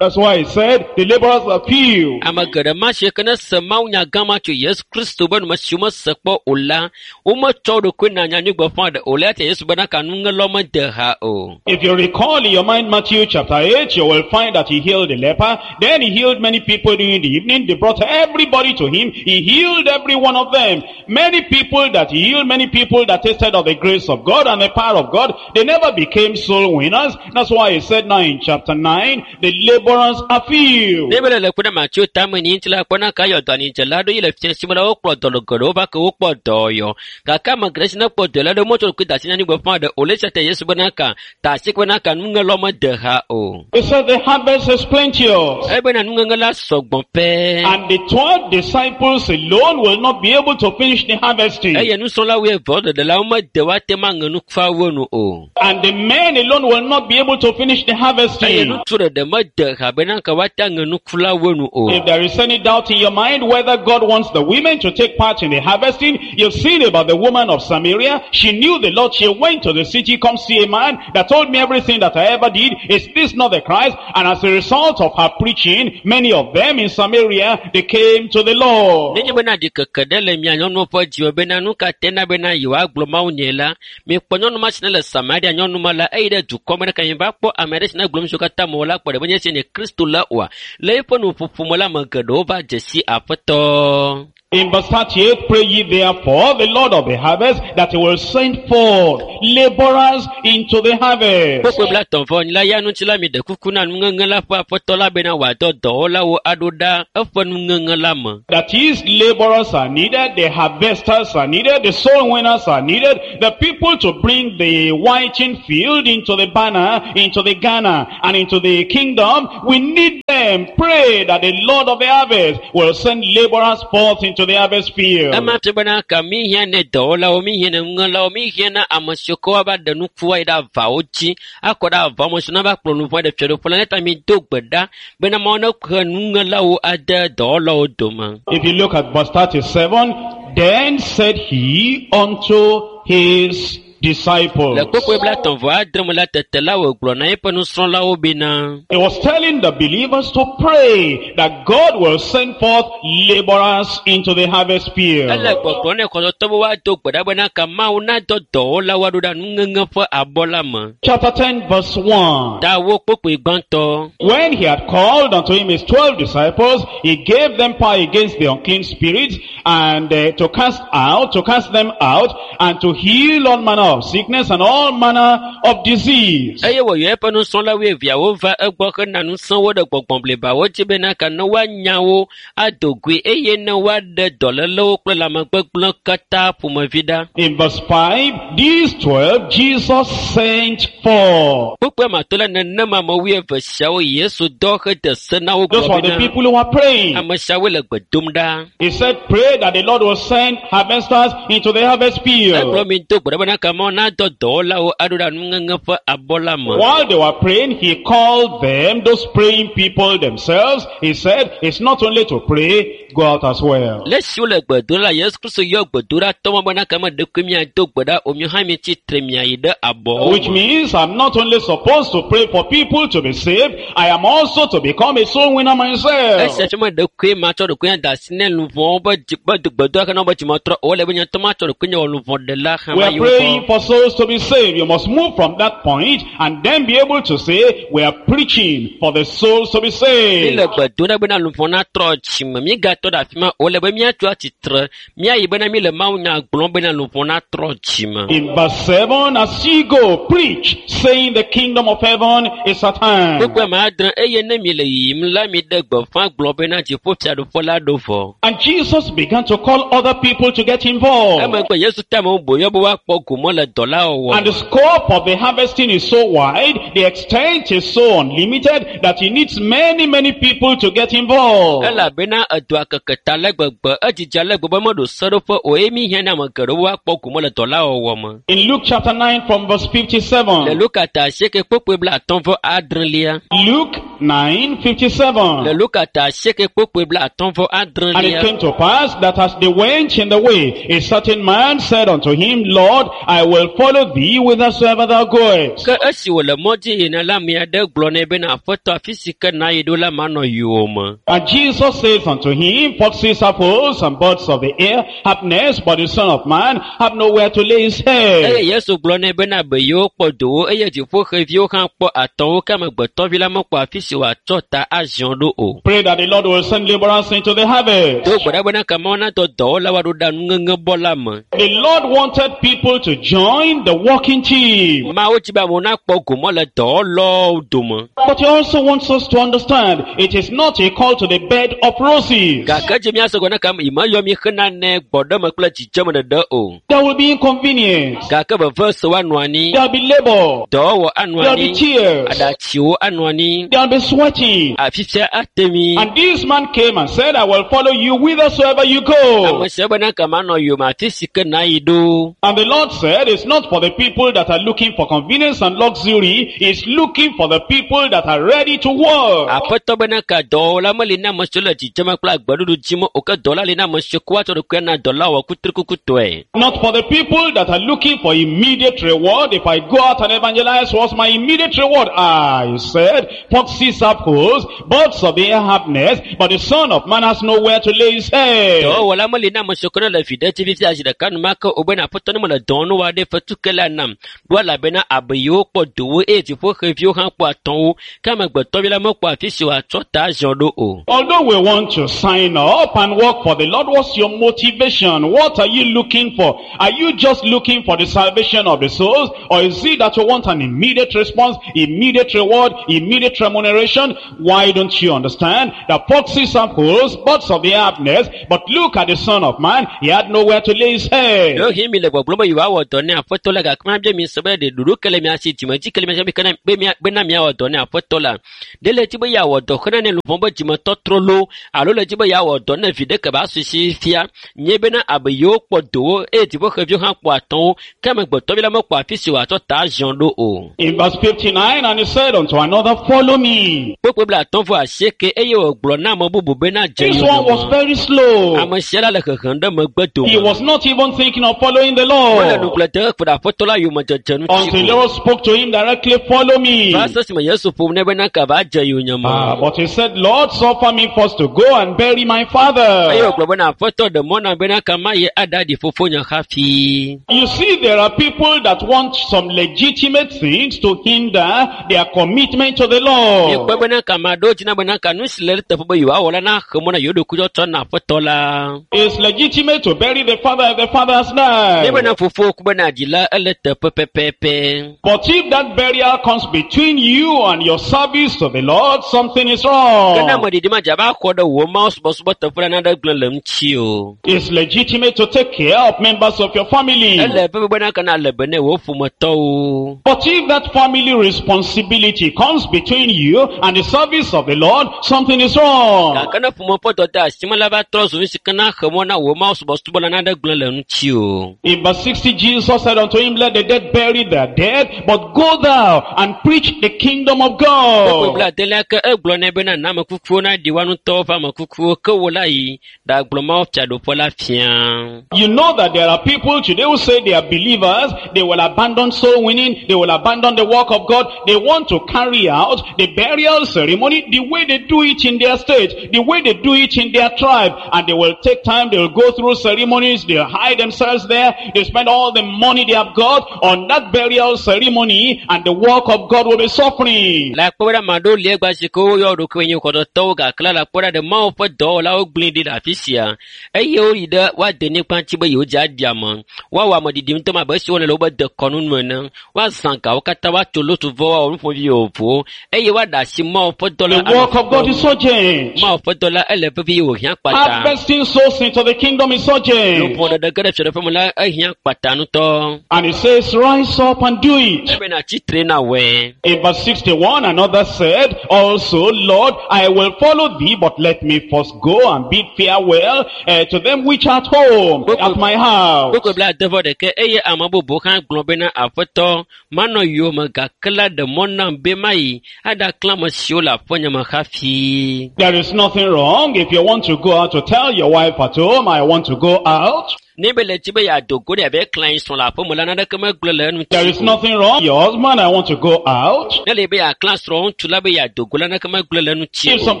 That's why he said the laborers are few. Ame geɖe ma si ke ne se mawunya gã ma tso Yesu Kristo be nume si womese kpɔ o la, wometsɔ wo ɖokui na nyanyuigbeƒã ɖe o la, eya ta Yesu bena ka nuŋelawo mede ha o. If you recall in your mind Matthew chapter 8, you will find that he healed the leper. Then he healed many people during the evening. They brought everybody to him. He healed every one of them. Many people that he healed, many people that tasted of the grace of God and the power of God, they never became soul winners. That's why he said now in chapter 9, the laborers are few. Ne be le ku ɖe Mateo tame ni ŋuti la, kpɔna ka yɔ dɔ anidzela ɖo yi le fia si me la, wokplɔ dɔlɔ geɖewo va ke wokpɔ dɔyɔ. Gake ame geɖe si ne kpɔ dɔ la ɖe wometsɔ ɖokui da asi na nyanyuigbeƒã ɖe o le esia ta Yesu bena ka ta asi bena ka nuŋelawo mede ha o. He said the harvest is plenteous. Ebena nuŋeŋe la sɔgbɔ pɛ. And the 12 disciples alone will not be able to finish the harvesting. Eye nusrɔ̃la wuieve ɖeɖe la womede woate ŋu aŋe nukuawo nu o. And the men alone will not be able to finish the Eye harvesting. ŋutsu ɖeɖe mede ha bena ka woate aŋe nuku la wo nu o. If there is any doubt in your mind whether God wants the women to take part in the harvesting, you've seen about the woman of Samaria. She knew the Lord. She went to the city, come see a man that told me everything that I ever did. Is this not the Christ? And as a result of her preaching, many of them in Samaria, they came to the Lord. Nenye bena ɖikeke ɖe le mia nyɔnuwo ƒe dziwò bena nu ka te na bena yewoagblɔ Mawu nye la, mikpɔ nyɔnu ma si ne le Samaria nyɔnu ma la, eyi ɖe dukɔ me ɖe ka va kpɔ ame aɖe si ne gblɔ nu siwo katã mewɔ la kpɔ ɖe menye esi nye Kristo la oa. Le eƒe nuƒoƒo me la, ame geɖewo va dze si Aƒetɔ. In verse 38, pray ye therefore the Lord of the harvest that he will send forth laborers into the harvest. Kpukpui blatɔ̃ vɔ enyi la ya ŋuti la mi ɖe kuku na nuŋeŋe la ƒe aƒetɔ la bena wòadɔ dɔwɔlawo aɖo ɖa eƒe nuŋeŋe la me. That is, laborers are needed, the harvesters are needed, the soul winners are needed, the people to bring the whiting field into the banner, into the Ghana, and into the kingdom. We need them. Pray that the Lord of the harvest will send laborers forth into the harvest field. Ema fia bena ka mi hiã ne dɔwɔlawo, mi hiã ne nuŋelawo, mi hiã na ame siwo ke woava ɖe nukua yi ɖe avawo dzi, akɔ ɖe avawo me siwo nava kplɔ nuʋɔ ɖe fiaɖuƒe la. Ne ta mi do gbe ɖa bena Mawu nehe nuŋelawo ade dɔwɔlawo dome. If you look at verse 37, then said he unto his disciples. Le kpukpui blatɔ̃ vɔ adre me la tete la wògblɔ na eƒe nusrɔ̃lawo bena He was telling the believers to pray that God will send forth laborers into the harvest field. ele gbɔgblɔ ne xɔtɔtɔ be woado gbe ɖa bena ka Mawu nadɔ dɔwɔlawo aɖo ɖa nuŋeŋe ƒe abɔ la me. Chapter 10 verse 1. Ta wo kpukpui gbãtɔ. When he had called unto him his 12 disciples, he gave them power against the unclean spirits and to cast them out, and to heal all manner of sickness and all manner of disease. Eye wòyɔ eƒe nusrɔ̃la wuieveawo va egbɔ hena ŋusẽ wo ɖe gbɔgbɔ blibawo dzi bena ka ne woanya wo ado goe eye ne woaɖe dɔlélewo kple lãmegbegblẽ katã ƒomevi ɖa. In verse 5, these 12 Jesus sent forth. Kpukpui amatɔ la nenema ame wuieve siawo Yesu dɔ hede se na wo Those gblɔ were the bena people who were praying. ame siawoe le gbe dom ɖa. He said, pray that the Lord will send harvesters into the harvest Egblɔ field. mi do gbe ɖa bena ka Mawu nadɔ dɔwɔlawo aɖo ɖa nuŋeŋe ƒe abɔ la me. While they were praying, he called them, those praying people themselves. He said, it's not only to pray, go out as well. Le esi wole gbe dom la, Yesu Kristo yɔ gbedoɖatɔ ma bena ka me ɖekui miado gbe ɖa o, miwo hã mitsi tre miayi ɖe abɔwo Which me. means I'm not only supposed to pray for people to be saved, I am also to become a soul winner myself. Esia fia me ɖekui matsɔ ɖokui ade asi ne luʋɔwo be dzi be gbedoɖa ke na wobe dzimetrɔ o, ele be nye ŋutɔ matsɔ ɖokui nye wɔ luʋɔɖela hã We are mayi wo praying gbɔ. for souls to be saved. You must move from that point and then be able to say, we are preaching for the souls to be Mi saved. le gbe dom ɖa bena luʋɔ natrɔ dzime, migatɔ ɖe afi ma o, ele be míatso atsitre, míayi bena mi le mawunya gblɔm bena luʋɔ natrɔ dzime. In verse 7, as ye go, preach, saying the kingdom of heaven is at hand. Kpukpui ame adre eye ne mi le yiyim la mi ɖe gbeƒã gblɔ bena dziƒofiaɖuƒe la ɖo vɔ. And Jesus began to call other people to get involved. Emegbe Yesu te amewo boyɔ be woakpɔ gome le dɔ la wɔwɔ And me. the scope of the harvesting is so wide, the extent is so unlimited, that he needs many, many people to get involved. Elabena edɔa keke ta le gbegbe, edzidzi ale gbegbe meɖo seɖoƒe o eye mi hiã na ame geɖewo woakpɔ gome le dɔ la wɔwɔ me. In Luke chapter 9 from verse Le 57. Luka ta asieke kpukpui blatɔ̃ vɔ adrelia. Luke 9, Le 57. Luka ta asieke kpukpui blatɔ̃ vɔ And it adrelia. came to pass that as they went in the way, a certain man said unto him, Lord, I will follow thee whithersoever thou goest. Ke esi wòle mɔ dzi yina la, ame aɖe gblɔ nɛ bena aƒetɔ afi si ke nàyi ɖo la manɔ yowòme. And Jesus says unto him, Foxes have holes and birds of the air have nests, but the Son of Man have nowhere to lay his Eye head. Yesu gblɔ nɛ bena beyewo kpɔ dowo eye dziƒoxeviwo hã kpɔ atɔwo ke amegbetɔvi la mekpɔ afi si wòatsɔ ta aziɔ ɖo o. Pray that the Lord will send laborers into the harvest. Do gbe ɖa bena ka Mawu nadɔ dɔwɔlawo aɖo ɖa nuŋeŋe bɔ la me. The Lord wanted people to join the working team. Mawu dzi be amewo nakpɔ gome le dɔwɔlawo dome. But he also wants us to understand it is not a call to the bed of roses. Gake dzi míase gɔme na ka yi meyɔ mi xena ne gbɔɖeme kple dzidzeme ɖeɖe o. There will be inconvenience. Gake veve se woanɔ anyi, There will be labor. dɔwɔwɔ anɔ There will be anyi, tears. aɖatsiwo anɔ anyi, There will be sweating. afisia ate mi. And this man came and said, I will follow you whithersoever you go. Ame sia bena ka manɔ yowòme afi si ke nàyi ɖo. And the Lord said, said it's not for the people that are looking for convenience and luxury. He's looking for the people that are ready to work. Aƒetɔ bena ka dɔwɔla meli na ame siwo le dzidzeme kple agbeɖuɖu dzim o ke dɔla li na ame siwo ko woatsɔ ɖokuia na dɔla wɔ kutrikukutɔe. Not for the people that are looking for immediate reward. If I go out and evangelize, what's my immediate reward? I said, foxes have holes, birds of the air have nests, but the Son of Man has nowhere to lay his head. Dɔwɔla meli na ame siwo ke ne le vi ɖe dzi fifia zi ɖeka enumake o bena aƒetɔ ne mele dɔ wɔm ne woaɖe fetu ke la nam. Ɖo elabena abeyiwo kpɔ dowo eye dziƒoxeviwo hã kpɔ atɔ̃wo ke amegbetɔvi la mekpɔ afi si wòatsɔ ta ziɔ ɖo o. Although we want to sign up and work for the Lord, what's your motivation? What are you looking for? Are you just looking for the salvation of the souls? Or is it that you want an immediate response, immediate reward, immediate remuneration? Why don't you understand that foxes have holes, birds of the air have nests, but look at the Son of Man, he had nowhere to lay his head. Ɖewohĩ mi le gbɔgblɔm be yewoawɔ dɔ ne aƒetɔ la gake mabia mi se be ɖe ɖoɖo ke le mia si dzimedzi ke le mia si be be mia bena miawɔ dɔ ne aƒetɔ la. Ɖe le dzi be yeawɔ dɔ xena ne luʋɔ be dzimetɔtrɔ loo alo le dzi be yeawɔ dɔ ne vi ɖe ke ba su si fia nye bena abe yewo kpɔ dowo eye dziƒoxeviwo hã kpɔ atɔ̃wo ke amegbetɔvi la mekpɔ afi si wòatsɔ ta ziɔ ɖo o. In verse 59, and he said unto another, Follow me. Kpukpui 58 eye wògblɔ na ame bubu bena dze This one was yonyeme. very slow. Ame sia la le hehem ɖe megbe He dome. was not even thinking of following the Mele Lord. nugble dem kpe ɖe aƒetɔ la yomedzedze ŋuti Until the o. Lord spoke to him directly, Follow me. Va se esime Yesu ƒom nɛ bena ka va dze yonyeme. Ah, but he said, Lord, suffer me first to go and bury my Eye father. wògblɔ bena aƒetɔ ɖe mɔ nam bena ka mayi aɖaɖi fofonye hafi. You see, there are people that want some legitimate things to hinder their commitment to the Miekpɔ Lord. bena ka ame aɖewo dzina bena ka nu si le eteƒe be yewoawɔ la naxe mɔ na yewo ɖokui tsɔtsɔ na aƒetɔ la. It's legitimate to bury the father if the father has Ne died. bena fofo ku bena dzi la ele teƒe pɛpɛpɛ. But if that burial comes between you and your service to the Lord, something is Ke ne wrong. ame ɖiɖi ma dze ava xɔ ɖe wò Mawu subɔsubɔ teƒe la naɖe gblẽ le ŋuti o. It's legitimate to take care of members of your family. Ele vevi bena ka na le be ne wò ƒometɔwo. But if that family responsibility comes between you and the service of the Lord, something is wrong. Gake ne ƒome ƒe dɔdeasi me la va trɔ zu nu si ke na xe mɔ na wò Mawu subɔsubɔ la naɖe gblẽ le ŋuti o. In verse 60, Jesus said unto him, Let the dead bury their dead, but go thou and preach the kingdom of Kpukpui God. 70 ke egblɔ nɛ bena na ame kukuwo naɖi woa ŋutɔwo ƒe ame kukuwo ke wo la yi ɖagblɔ Mawu fiaɖuƒe la fia. You know that there are people today who say they are believers, they will abandon soul winning, they will abandon the work of God, they want to carry out the burial ceremony the way they do it in their state, the way they do it in their tribe, and they will take time, they will go through ceremonies, they'll hide themselves there, they spend all the money they have got on that burial ceremony, and the work of God will be suffering. Le akpɔ be ɖe ame aɖewo li egba si ke woyɔ wo ɖokuiwo nye xɔdɔtɔwo gake la le akpɔ ɖa ɖe Mawu ƒe dɔwɔlawo gblẽ ɖi le afi sia eye woyi ɖe woade nyigba ŋuti be yewodze aɖi ame. Woawɔ ameɖiɖi ŋutɔ abe esi wowɔnɛ le wobe dekɔnu nu ene. Woazã gawo katã, woatso lotuvɔ, woawɔ nuƒovi vovovowo eye woaɖe asi Mawu ƒe dɔ la The work of God is urgent. Mawu ƒe dɔ la ele vevie wòhiã kpata. Harvesting souls into the kingdom is urgent. Luʋɔ ɖeɖe ge ɖe fiaɖuƒe me la ehiã kpata ŋutɔ. And he says, rise up and do it. Ebena tsitre na wɔe. In verse 61, another said, also, Lord, I will follow thee, but let me first go and bid farewell to them which are at home, at my house. Kpukpui 71 eye ame bubu hã gblɔ bena aƒetɔ manɔ yowòme gake la ɖe mɔ nam be mayi aɖaklã ame siwo le aƒenye me hafi. There is nothing wrong if you want to go out to tell your wife at home, I want to go out. Ne be le dzi be yeado go ɖe yeave klã yi srɔ̃ le aƒeme la naneke megblẽ le enu There ŋuti is o. nothing wrong. Your husband, I want to go out. Ne le be yeaklã srɔ̃ ŋutsu la be yeado go la naneke megblẽ le eŋuti If o. some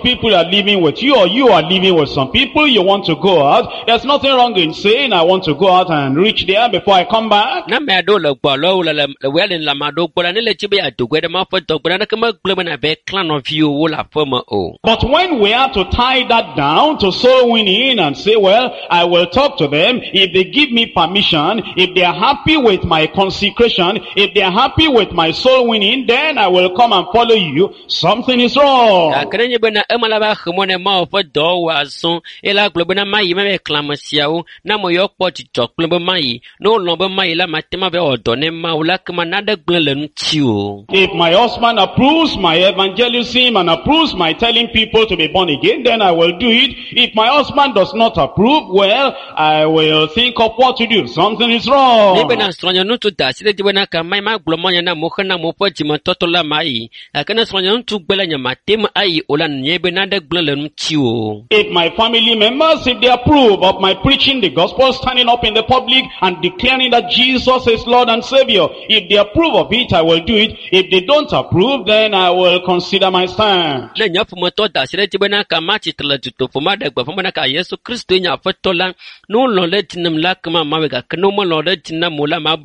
people are living with you or you are living with some people, you want to go out. There's nothing wrong in saying, I want to go out and reach there before I come back. Ne ame aɖewo le gbɔ alo wole le le wòya le le ame aɖewo gbɔ la, ne le dzi be yeado go ɖe Mawu ƒe dɔ gbɔ la, naneke megblẽ be nàve klã nɔviwòwo le aƒeme o. But when we have to tie that down to soul winning and say, well, I will talk to them if they give me permission, if they are happy with my consecration, if they are happy with my soul winning, then I will come and follow you. Something is wrong. Gake nenye bena ema la va xe mɔ ne Mawu ƒe dɔwɔwɔ azɔ eye la gblɔ bena mayi mava klã ame siawo ne ame yawo kpɔ dzidzɔ kple be mayi ne wolɔ̃ be mayi la mate ŋu ava wɔ dɔ ne Mawu la kema naɖe gblẽ le ŋuti o. If my husband approves my evangelism and approves my telling people to be born again, then I will do it. If my husband does not approve, well, I will think of what to do. Something is wrong. Ne bena srɔ̃nye ŋutsu da asi ɖe edzi bena kama ma gblɔ mɔnya na amewo hena amewo ƒe dzimetɔtɔ la ma yi. Gake ne srɔ̃nye ŋutsu gbe la nye mate ŋu ayi o la nye be nane gblẽ le ŋutiwò. If my family members, if they approve of my preaching the gospel, standing up in the public and declaring that Jesus is Lord and Savior, if they approve of it, I will do it. If they don't approve, then I will consider my stand. Ne nye ƒometɔ da asi ɖe edzi bena kama tsitre le dutoƒo ma ɖe gbeƒã bena ka Yesu Kristoe nye Aƒetɔ la, ne wolɔ̃ ɖe edzi nam la kema mawɔe gake ne womelɔ̃ ɖe edzi nam o la ma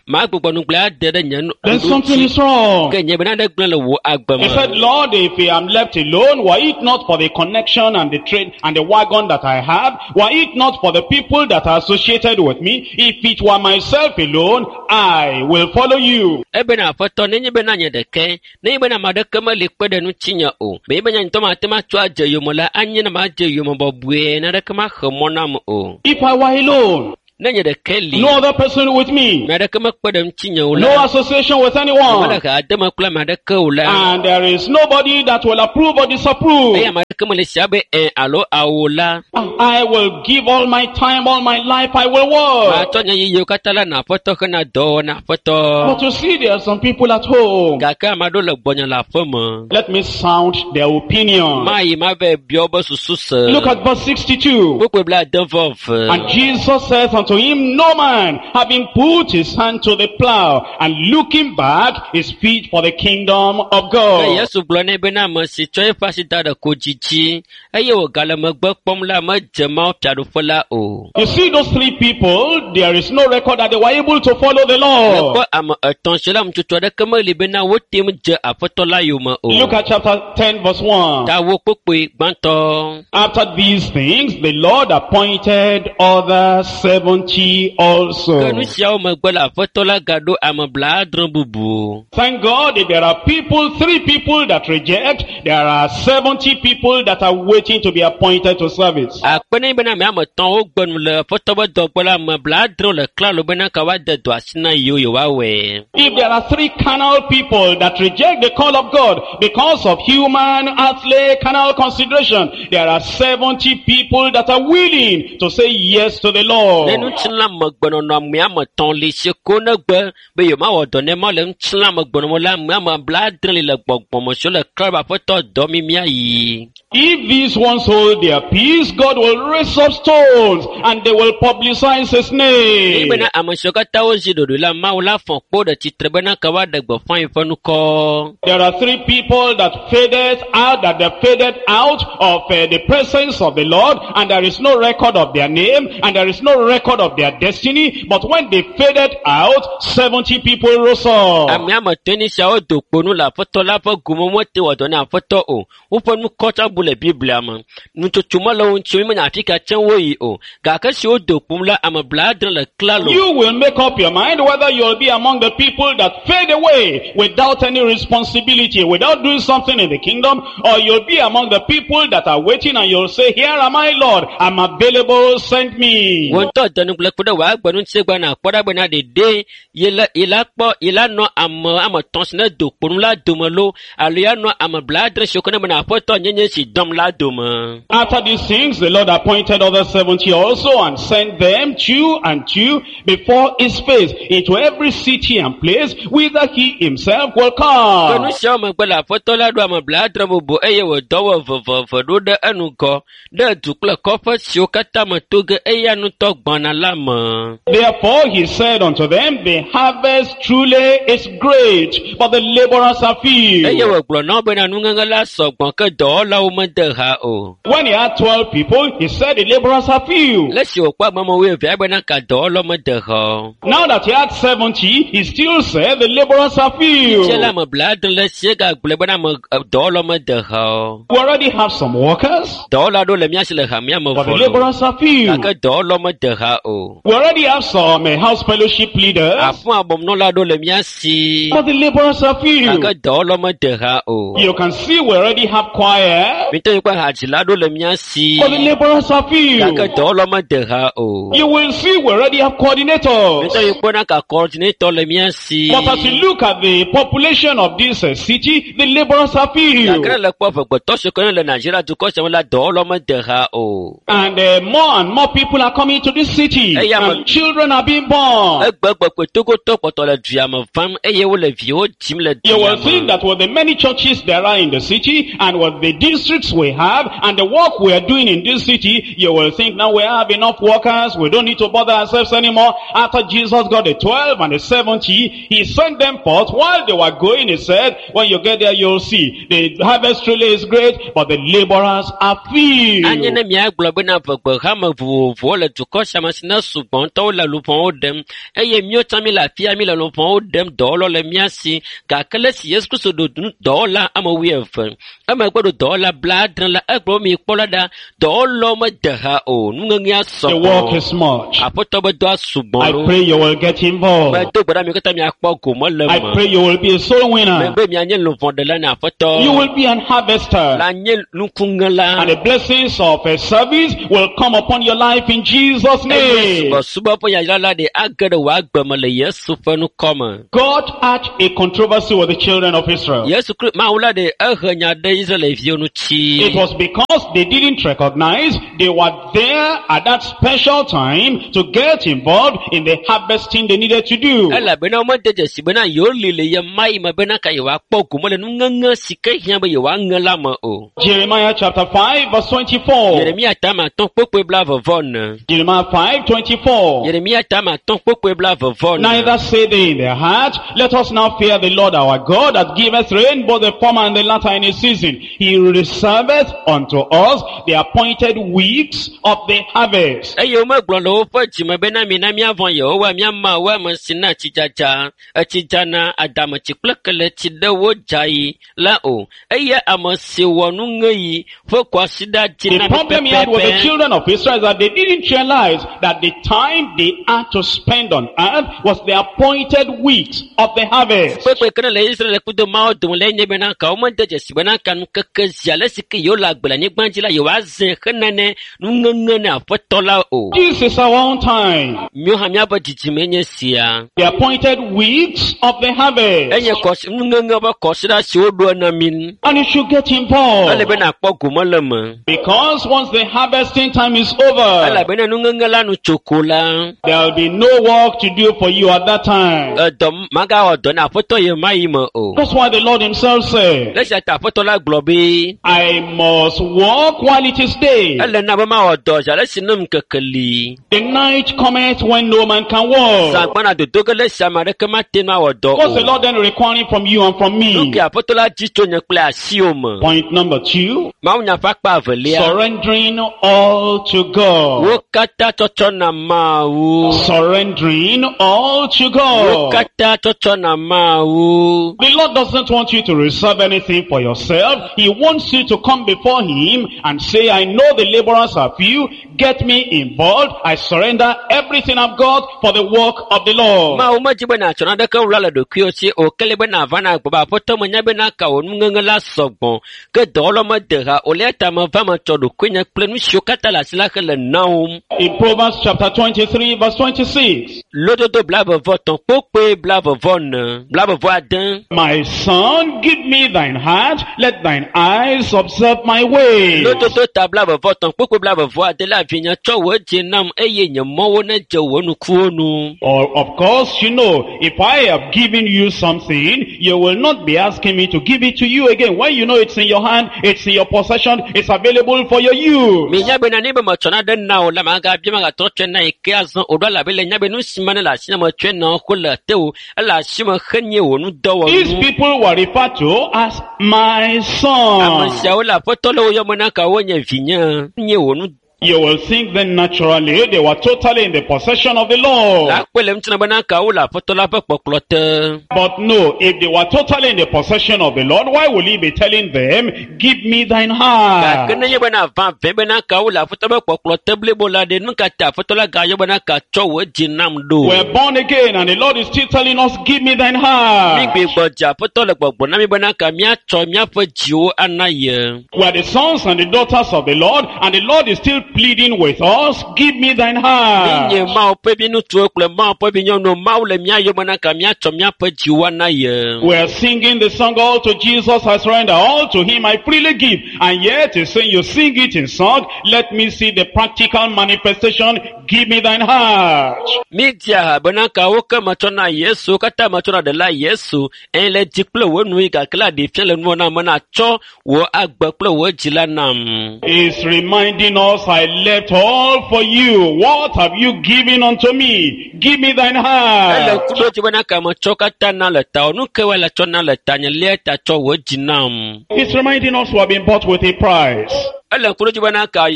magbugbɔ nugblẽ ade ɖe nye nu Then something is wrong. Ke nye be nane gblẽ le wò agbe He said, me. Lord, if I am left alone, were it not for the connection and the train and the wagon that I have, were it not for the people that are associated with me, if it were myself alone, I will follow you. Ebena Aƒetɔ, nenye bena nye ɖeke, nenye bena ame aɖeke meli kpe ɖe ŋutinye o, menye be nye ŋutɔ mate ŋu atsɔ adze yome la, anye ne madze yome bɔbɔe, naneke maxe mɔ nam o. If I were alone, Ne nye ɖeke li, no other person with me, ame aɖeke mekpe ɖe ŋutinye o no la, association with mele anyone, ha deme kple ame aɖeke o la, and there is nobody that will approve or disapprove. eye ame aɖeke mele si abe ẽ alo awo la, I will give all my time, all my life, I will work. matsɔ nye yiyiwo katã la na Aƒetɔ hena dɔwɔwɔ na Aƒetɔ. But you see, there are some people at home. Gake ame aɖewo le gbɔnye le aƒe me. Let me sound their opinion. Mayi mava bia wobe susu se. Look at verse 62. Kpukpui 71. And Jesus saith unto him, No man, having put his hand to the plow and looking back, is fit for the kingdom of Ke God. Yesu gblɔ nɛ bena ame si tsɔ eƒe asi da ɖe kodzi dzi eye wògale megbe kpɔm la medze Mawu fiaɖuƒe la o. You see those three people, there is no record that they were able to follow the Lord. Mekpɔ ame etɔ̃ si la ŋutsotso aɖeke meli bena wote ŋu dze Aƒetɔ la yome o. Look at chapter 10 verse 1. Ta wo kpukpui gbãtɔ. After these things, the Lord appointed other 70 also. Ke nu siawo megbe la Aƒetɔ la gaɖo ame 70 bubu. Thank God if there are people, three people that reject, there are 70 people that are waiting to be appointed to service. Akpe ne bena ame ame etɔ̃ wogbe nu le Aƒetɔ ƒe dɔ gbɔ la ame 70 le klalo bena ka woade dɔ asi na yewo yewoawɔe. If there are three carnal people that reject the call of God because of human, earthly, carnal consideration, there are 70 people that are willing to say yes to the Ne Lord. ŋutilãmegbenɔnɔ ame ame etɔ̃ li si ko negbe be yewomawɔ dɔ ne ma le ŋutilãmegbenɔnɔ la ame ame 70 li le gbɔgbɔme siwo le klalo be Aƒetɔ dɔ mi míayi. If these ones hold their peace, God will raise up stones and they will publicize his name. Eye bena ame siwo katã wozi ɖoɖoe la Mawu la fɔ kpo ɖe tsitre bena ke woaɖe gbeƒã yi ƒe ŋkɔ. There are three people that faded out, that they faded out of the presence of the Lord, and there is no record of their name, and there is no record of their destiny. But when they faded out, 70 people rose up. Ame ame etɔ̃ ni siawo do kpo nu le Aƒetɔ la ƒe gome mete wɔ dɔ na Aƒetɔ o. Woƒe ŋkɔ tsã bu le Biblia me. Nutsotso mele wo ŋuti o, mímenya afi ka tsɛ woyi o. Gake esi wodo kpo nu la, ame 70 le klalo. You will make up your mind whether you'll be among the people that fade away without any responsibility, without doing something in the kingdom, or you'll be among the people that are waiting and you'll say, Here am I, Lord, I'm available, send me. Wò ŋutɔ de nugble kpe ɖe wò agbe ŋuti gbɔna kpɔ ɖa bena ɖeɖe ye la kpɔ ye la nɔ ame ame etɔ̃ si ne do kpo nu la dome loo alo ya nɔ ame 70 siwo ke ne bena Aƒetɔ nye nye si dɔm la dome. After these things, the Lord appointed other 70 also and sent them two and two before his face into every city and place whither he himself will Ke nu come. siawo megbe la Aƒetɔ la ɖo ame 70 bubu eye wòdɔ wo eveveve ɖo ɖe enugɔ ɖe du kple kɔƒe siwo katã me to ge eya ŋutɔ gbɔna la me. Therefore he said unto them, The harvest truly is great, but the laborers are few. Eye wògblɔ na wo bena nuŋeŋe la sɔgbɔ ke dɔwɔlawo mede ha o. When he had 12 people, he said the laborers are few. Le esi wòkpɔ ame wuievea bena ka dɔwɔlawo mede ha o. Now that he had 70, he still said the laborers are few. Fia la ame 70 le esi egagblɔe bena ame dɔwɔlawo mede ha o. We already have some workers, Dɔwɔla aɖewo le mía si le hamea me but the vɔ loo. laborers are few. Gake dɔwɔlawo mede ha o. We already have some house fellowship leaders, Aƒu abɔmnɔla aɖewo le mía si. but the laborers are few. Gake dɔwɔlawo mede ha o. You can see we already have choir, Mite mi kpɔ hadzila ɖo le mía si. But the laborers are few. Gake dɔwɔlawo mede ha o. You will see we already have coordinators. Mite mi kpɔ na ka coordinator le mía si. But as you look at the population of this city, the laborers are few. Gake ne le kpɔ ʋegbetɔ si ke ne le Nigeria dukɔ sia me la, dɔwɔlawo mede ha o. And more and more people are coming to this city. Hey, yeah, And children are being born. Egbegbe Togotɔ kpɔtɔ le dua me vam eye wole viwo dzim le You dua will think me. that with the many churches there are in the city and with the districts we have and the work we are doing in this city, you will think now we have enough workers, we don't need to bother ourselves anymore. After Jesus got the 12 and the 70, he sent them forth. While they were going, he said, when you get there, you'll see. The harvest really is great, but the laborers are few. Anye ne miagblɔ bena ʋegbehame vovovowo le dukɔ sia me si ne sugbɔ ŋutɔ wole luʋɔwo ɖem eye míawo tsã mi le afia mi le luʋɔwo ɖem dɔwɔlawo le mía si gake le esi Yesu Kristo ɖo nu dɔwɔla ame wuieve emegbe ɖo dɔwɔla blaadre la egblɔ be mi kpɔ la ɖa dɔwɔlawo mede ha o nuŋeŋea The work sɔgbɔ is much. aƒetɔ be dɔa sugbɔ I ɖo pray you will get involved. medo gbe ɖa mi katã miakpɔ gome le I me pray you will be a soul winner. mebe mianye luʋɔɖela ne aƒetɔ You will be an harvester. la nye nukuŋela And the blessings of a service will come upon your life in Jesus' eye name. subɔsubɔ ƒe yayra la ɖe age ɖe wò agbe me le Yesu ƒe ŋkɔ me. God had a controversy with the children of Israel. Yesu Kristo Mawu la ɖe ehe nya ɖe Israelviwo ŋuti. It was because they didn't recognize they were there at that special time to get involved in the harvesting they needed to do. Elabena womede dzesi bena yewo li le ɣe ma ɣi me bena ka yewoakpɔ gome le nuŋeŋe si ke hiã be yewoaŋe la me o. Jeremiah chapter 5 verse 24. Yeremia tame atɔ̃ kpokpoe blaeve vɔ ene. Jeremiah 5 24. Yeremia tame atɔ̃ kpokpoe blaeve vɔ ene. Neither say they in their heart, let us now fear the Lord our God that giveth rain both the former and the latter in his season. He reserveth unto us the appointed weeks of the harvest. Eye womegblɔ le woƒe dzime bena mina míavɔ̃ Yehowa mía Mawu ame si na tsidzadza, etsidzana, adametsi kple keletsi ɖe wo dzaɣi la o. Eye ame si wɔ nuŋeɣi ƒe kwasiɖa dzi The na mí problem he had with the pɛpɛpɛ. children of Israel is that they didn't realize that the time they had to spend on earth was the appointed weeks of the harvest. Kpekpe ke ne le Israel kudo Mawu dome lae nye bena ka womede dzesi bena ka nukeke zi ale si ke yewo le agbe le anyigba dzi la yewoazẽ henane nuŋeŋe ne aƒetɔ la o. This is our own time. Míawo hã míaƒe dzidzime nye sia. The appointed weeks of the harvest. Enye kɔsi nuŋeŋe ƒe kɔsiɖa si woɖo na mí. And you should get Ele involved. be nàkpɔ gome le me. Because once the harvesting time is over, Elabena nuŋeŋe la nu tso ko la, there will be no work to do for you at that time. edɔ magawɔ dɔ na aƒetɔ ye ma yi me o. That's why the Lord himself said, Le esia ta aƒetɔ la gblɔ be, I must work while it is day. ele na be mawɔ dɔ zi ale si ne ŋkeke li. The night cometh when no man can work. Zã gbɔna dodo ge le esi ame aɖeke mate ŋu awɔ dɔ What's the o. Lord then requiring from you and from Nu me? ke aƒetɔ la dzi tso nye kple asiwò me. Point number 2, Mawunya ƒe akpa evelia. surrendering all to God. Wo katã tsɔtsɔ na Mawu. Surrendering all to Wo God. katã tsɔtsɔ na Mawu. The Lord doesn't want you to reserve anything for yourself. He wants you to come before Him and say, I know the laborers are few. Get me involved. I surrender everything I've got for the work of the Lord. Mawu medzi be nàtsɔ naneke wla le ɖokuiwò si o ke le be nàva na gbɔ be aƒetɔ menya bena ka wò nuŋeŋe la sɔgbɔ ke dɔwɔlawo mede ha o le eya ta meva metsɔ ɖokuinye kple nu siwo katã le asi la hele na wom. In Proverbs chapter 23 verse 26, Lododo blaeve-vɔ-etɔ̃ kpokpoe blaeve-vɔ-ene blaeve-vɔ-ade. My son, give me thine heart. Let thine eyes observe my ways. Lododo ta blaeve-vɔ-etɔ̃ kpokpoe blaeve-vɔ-ade la vinye tsɔ wò dzi nam eye nye mɔwo nedze wò nukuwo nu. Or of course, you know, if I have given you something, you will not be asking me to give it to you again. When you know it's in your hand, it's in your possession, it's available for your use. Minya bena ne be metsɔ nane na wò la magabia magatrɔ tsɔe na yi ke azɔ o ɖo elabe le nya be nu si ma ne le asi na metsɔe na wò ko le te o ele asi me henye wò These nudɔwɔnu. people were referred to as my Ame son. siawo le aƒetɔ le wo yɔm na ka wonye vinye nye wò nu You will think then naturally they were totally in the possession of the Lord. La kpɔe le ŋutina bena ka wole aƒetɔ la ƒe kpɔkplɔ te. But no, if they were totally in the possession of the Lord, why will he be telling them, give me thine heart? Gake nenye bena vavã bena ka wole aƒetɔ ƒe kpɔkplɔ te blibo la ɖe, nu ka ta aƒetɔ la gayɔ bena ka tsɔ wò dzi nam ɖo? We're born again and the Lord is still telling us, give me thine Mi heart. gbigbɔ dze aƒetɔ le gbɔgblɔ na mi bena ka míatsɔ míaƒe dziwo ana ye. We are the sons and the daughters of the Lord, and the Lord is still pleading with us, give me thine heart. Míenye Mawu ƒe viŋutsuwo kple Mawu ƒe vinyɔnuwo. Mawu le mía yɔ bena ka míatsɔ míaƒe dziwo ana ye. We are singing the song, all to Jesus I surrender, all to him I freely give. And yet he's saying, you sing it in song, let me see the practical manifestation, give me thine heart. Mídzia ha bena ka wo ke metsɔ na Yesu, wo katã metsɔ na ɖela Yesu. Eye le dzi kple wò nu yi gake la ɖe fia le nuwɔ nam bena tsɔ wò agbe kple wò dzi la nam. He's reminding us, I left all for you. What have you given unto me? Give me thine Ele heart. ŋku ɖo dzi bena ka metsɔ katã na le tawò. Nu ke woe le tsɔ na le tanye lia ta tsɔ wò dzi nam. He's reminding us we have been bought with a price. Ele ŋku ɖo dzi bena ka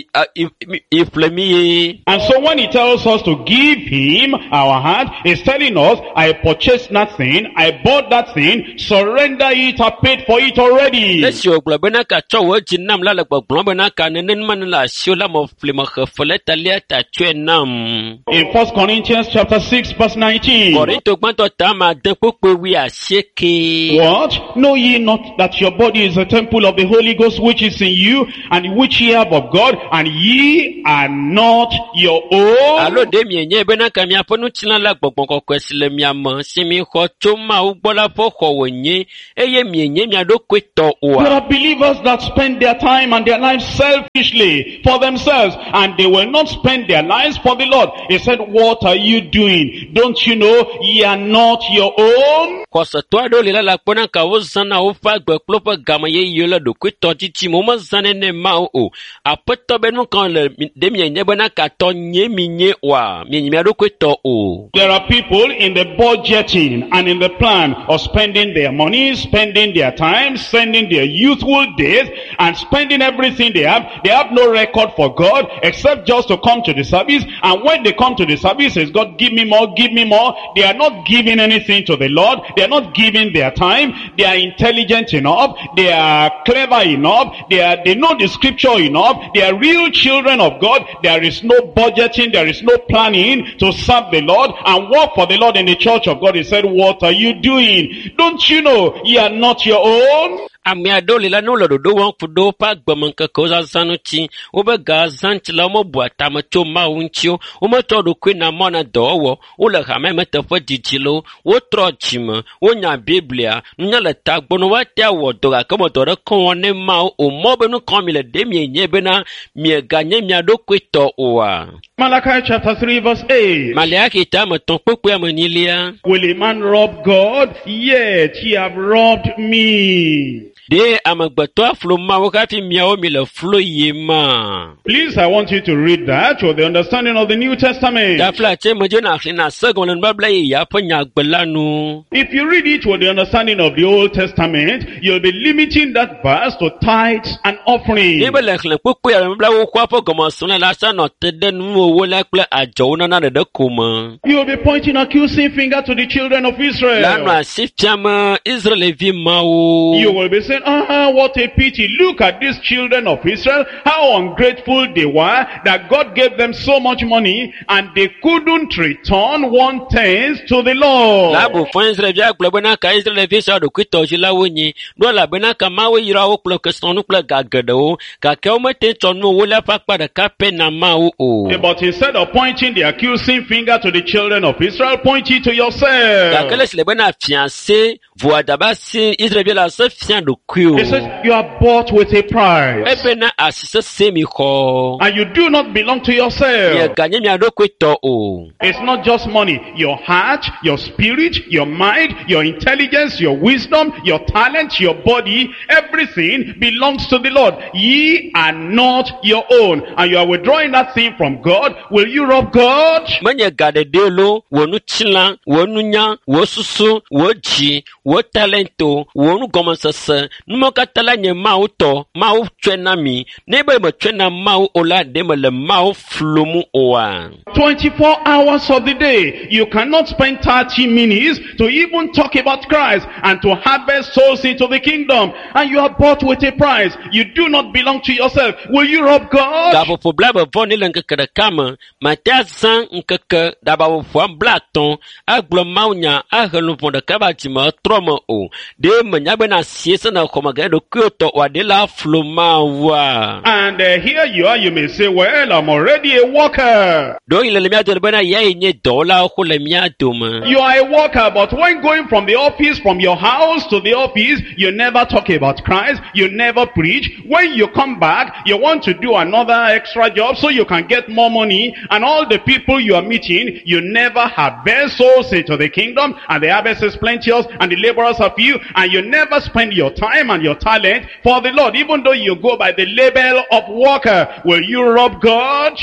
iƒle mi ye. And so when he tells us to give him our heart, he's telling us, I purchased that thing, I bought that thing, surrender it, I paid for it already. Esi wògblɔ bena ka tsɔ wò dzi nam la le gbɔgblɔm bena ka nenema ne le asiwò la meƒle mexe fe le ta lia ta tsɔe nam. In 1 Corinthians chapter 6 verse 19. Korinto gbãtɔ ta ame ade kpukpui wuiasieke. What? Know ye not that your body is a temple of the Holy Ghost which is in you, and which ye have of God, and ye are not your own? Alo ɖe mienye bena ka miaƒe ŋutilã la gbɔgbɔ kɔkɔe si le mia me si mixɔ tso Mawu gbɔ la ƒe xɔ wònye eye mienye mia ɖokui tɔ There oa? are believers that spend their time and their lives selfishly for themselves, and they will not spend their lives for the Lord. He said, what are you doing? Don't you know ye are not your own? Xɔsetɔ aɖewo li la le akpɔ na ka wozãna woƒe agbe kple woƒe game yeyewo le ɖokuitɔdidi me. Womezãnɛ ne Mawu o. Aƒetɔ be nu ka le ɖe mienye bena ka tɔ nye mi nye oa? Mienye mia ɖokui tɔ o. There are people in the budgeting and in the plan of spending their money, spending their time, spending their youthful days, and spending everything they have. They have no record for God except just to come to the service. And when they come to the service, it's God, give me more, give me more. They are not giving anything to the Lord. They are not giving their time. They are intelligent enough. They are clever enough. They know the scripture enough. They are real children of God. There is no budgeting. There is no planning to serve the Lord and work for the Lord in the church of God. He said, what are you doing? Don't you know ye are not your own? Ame aɖewo li la ne wole ɖoɖo wɔm ku ɖe woƒe agbemeŋkekewo zazã ŋuti, woƒe ga zã ŋuti la womebua tame tso Mawu ŋuti o, wometsɔ ɖokui na mɔ na dɔwɔwɔ, wole hame me teƒe didi loo, wotrɔ dzime, wonya Biblia, nunya le tagbɔ ne woate awɔ dɔ gake wome dɔ ɖeke wɔm ne Mawu o. Mɔ be nu ka mi le ɖe mienye bena mieganye mia ɖokui tɔ oa? Malachi chapter 3 verse 8. Maleaki ta ame etɔ̃ kpukpui ame enyilia. Will a man rob God? Yet ye have robbed me. Ɖe amegbetɔ aflo Mawu hafi miawo mi le flo yim ma? Please, I want you to read that with the understanding of the New Testament. Tafla tse medze na xlẽ na se gɔme le nubabla yeyea ƒe nyagbe la nu. If you read it with the understanding of the Old Testament, you'll be limiting that verse to tithes and offering. Ne be le xlẽ kpukpui ale nubabla xoxoa ƒe gɔmesrɔ̃ la sa nɔ te ɖe nuwɔwɔ la kple adzɔwo nana ɖeɖe ko me. You'll be pointing accusing finger to the children of La nɔ Israel. asi fiam Israelvi mawo. You will be saying, what a pity. Look at these children of Israel, how ungrateful they were that God gave them so much money and they couldn't return 1/10 to the Lord. Labu fɔ Israelvi agblɔ bena ka Israelvi sia ɖokuitɔdzilawo nyi. Ɖo elabena ka Mawu yra wo kple kesinɔnu kple ga geɖewo gake womete tsɔ nuwo le eƒe akpa ɖeka pɛ na Mawu o. But instead of pointing the accusing finger to the children of Israel, point it to yourself. Gake le si le bena fia se voa daba si Israelvi la se fia ɖokui He o. says, you are bought with a price. Ebena asi sese mi xɔ. And you do not belong to yourself. Mieganye mia ɖokui tɔ o. It's not just money. Your heart, your spirit, your mind, your intelligence, your wisdom, your talent, your body, everything belongs to the Lord. Ye are not your own. And you are withdrawing that thing from God. Will you rob God? Menye ga ɖeɖe lo, wò ŋutilã, wò nunya, wò susu, wò dzi, wò talento, wò nugɔmesese, Numɔ katã la nye Mawu tɔ, Mawu tsɔe na mi. Ne be metsɔe na Mawu o la, ɖe mele Mawu flum oa? 24 hours of the day, you cannot spend 30 minutes to even talk about Christ and to harvest souls into the kingdom. And you are bought with a price. You do not belong to yourself. Will you rob God? Gaƒoƒo blaeve vɔ ne le ŋkeke ɖeka me, mate azã ŋkeke ɖabaƒoƒoa 50 agblɔ mawunya ahe luʋɔ ɖeka va dzime trɔ me o. Ɖe menya bena asie se ne xɔme ge ɖokuiwò tɔ oa, ɖe la flu Mawua? And here you are, you may say, well, I'm already a worker. Ɖewohĩ le le mía dome bena yae nye dɔwɔlawo xo le mía dome. You are a worker, but when going from the office, from your house to the office, you never talk about Christ, you never preach. When you come back, you want to do another extra job so you can get more money, and all the people you are meeting, you never harvest souls into the kingdom, and the harvest is plenteous, and the laborers are few, and you never spend your time and your talent for the Lord, even though you go by the label of worker. Will you rob God?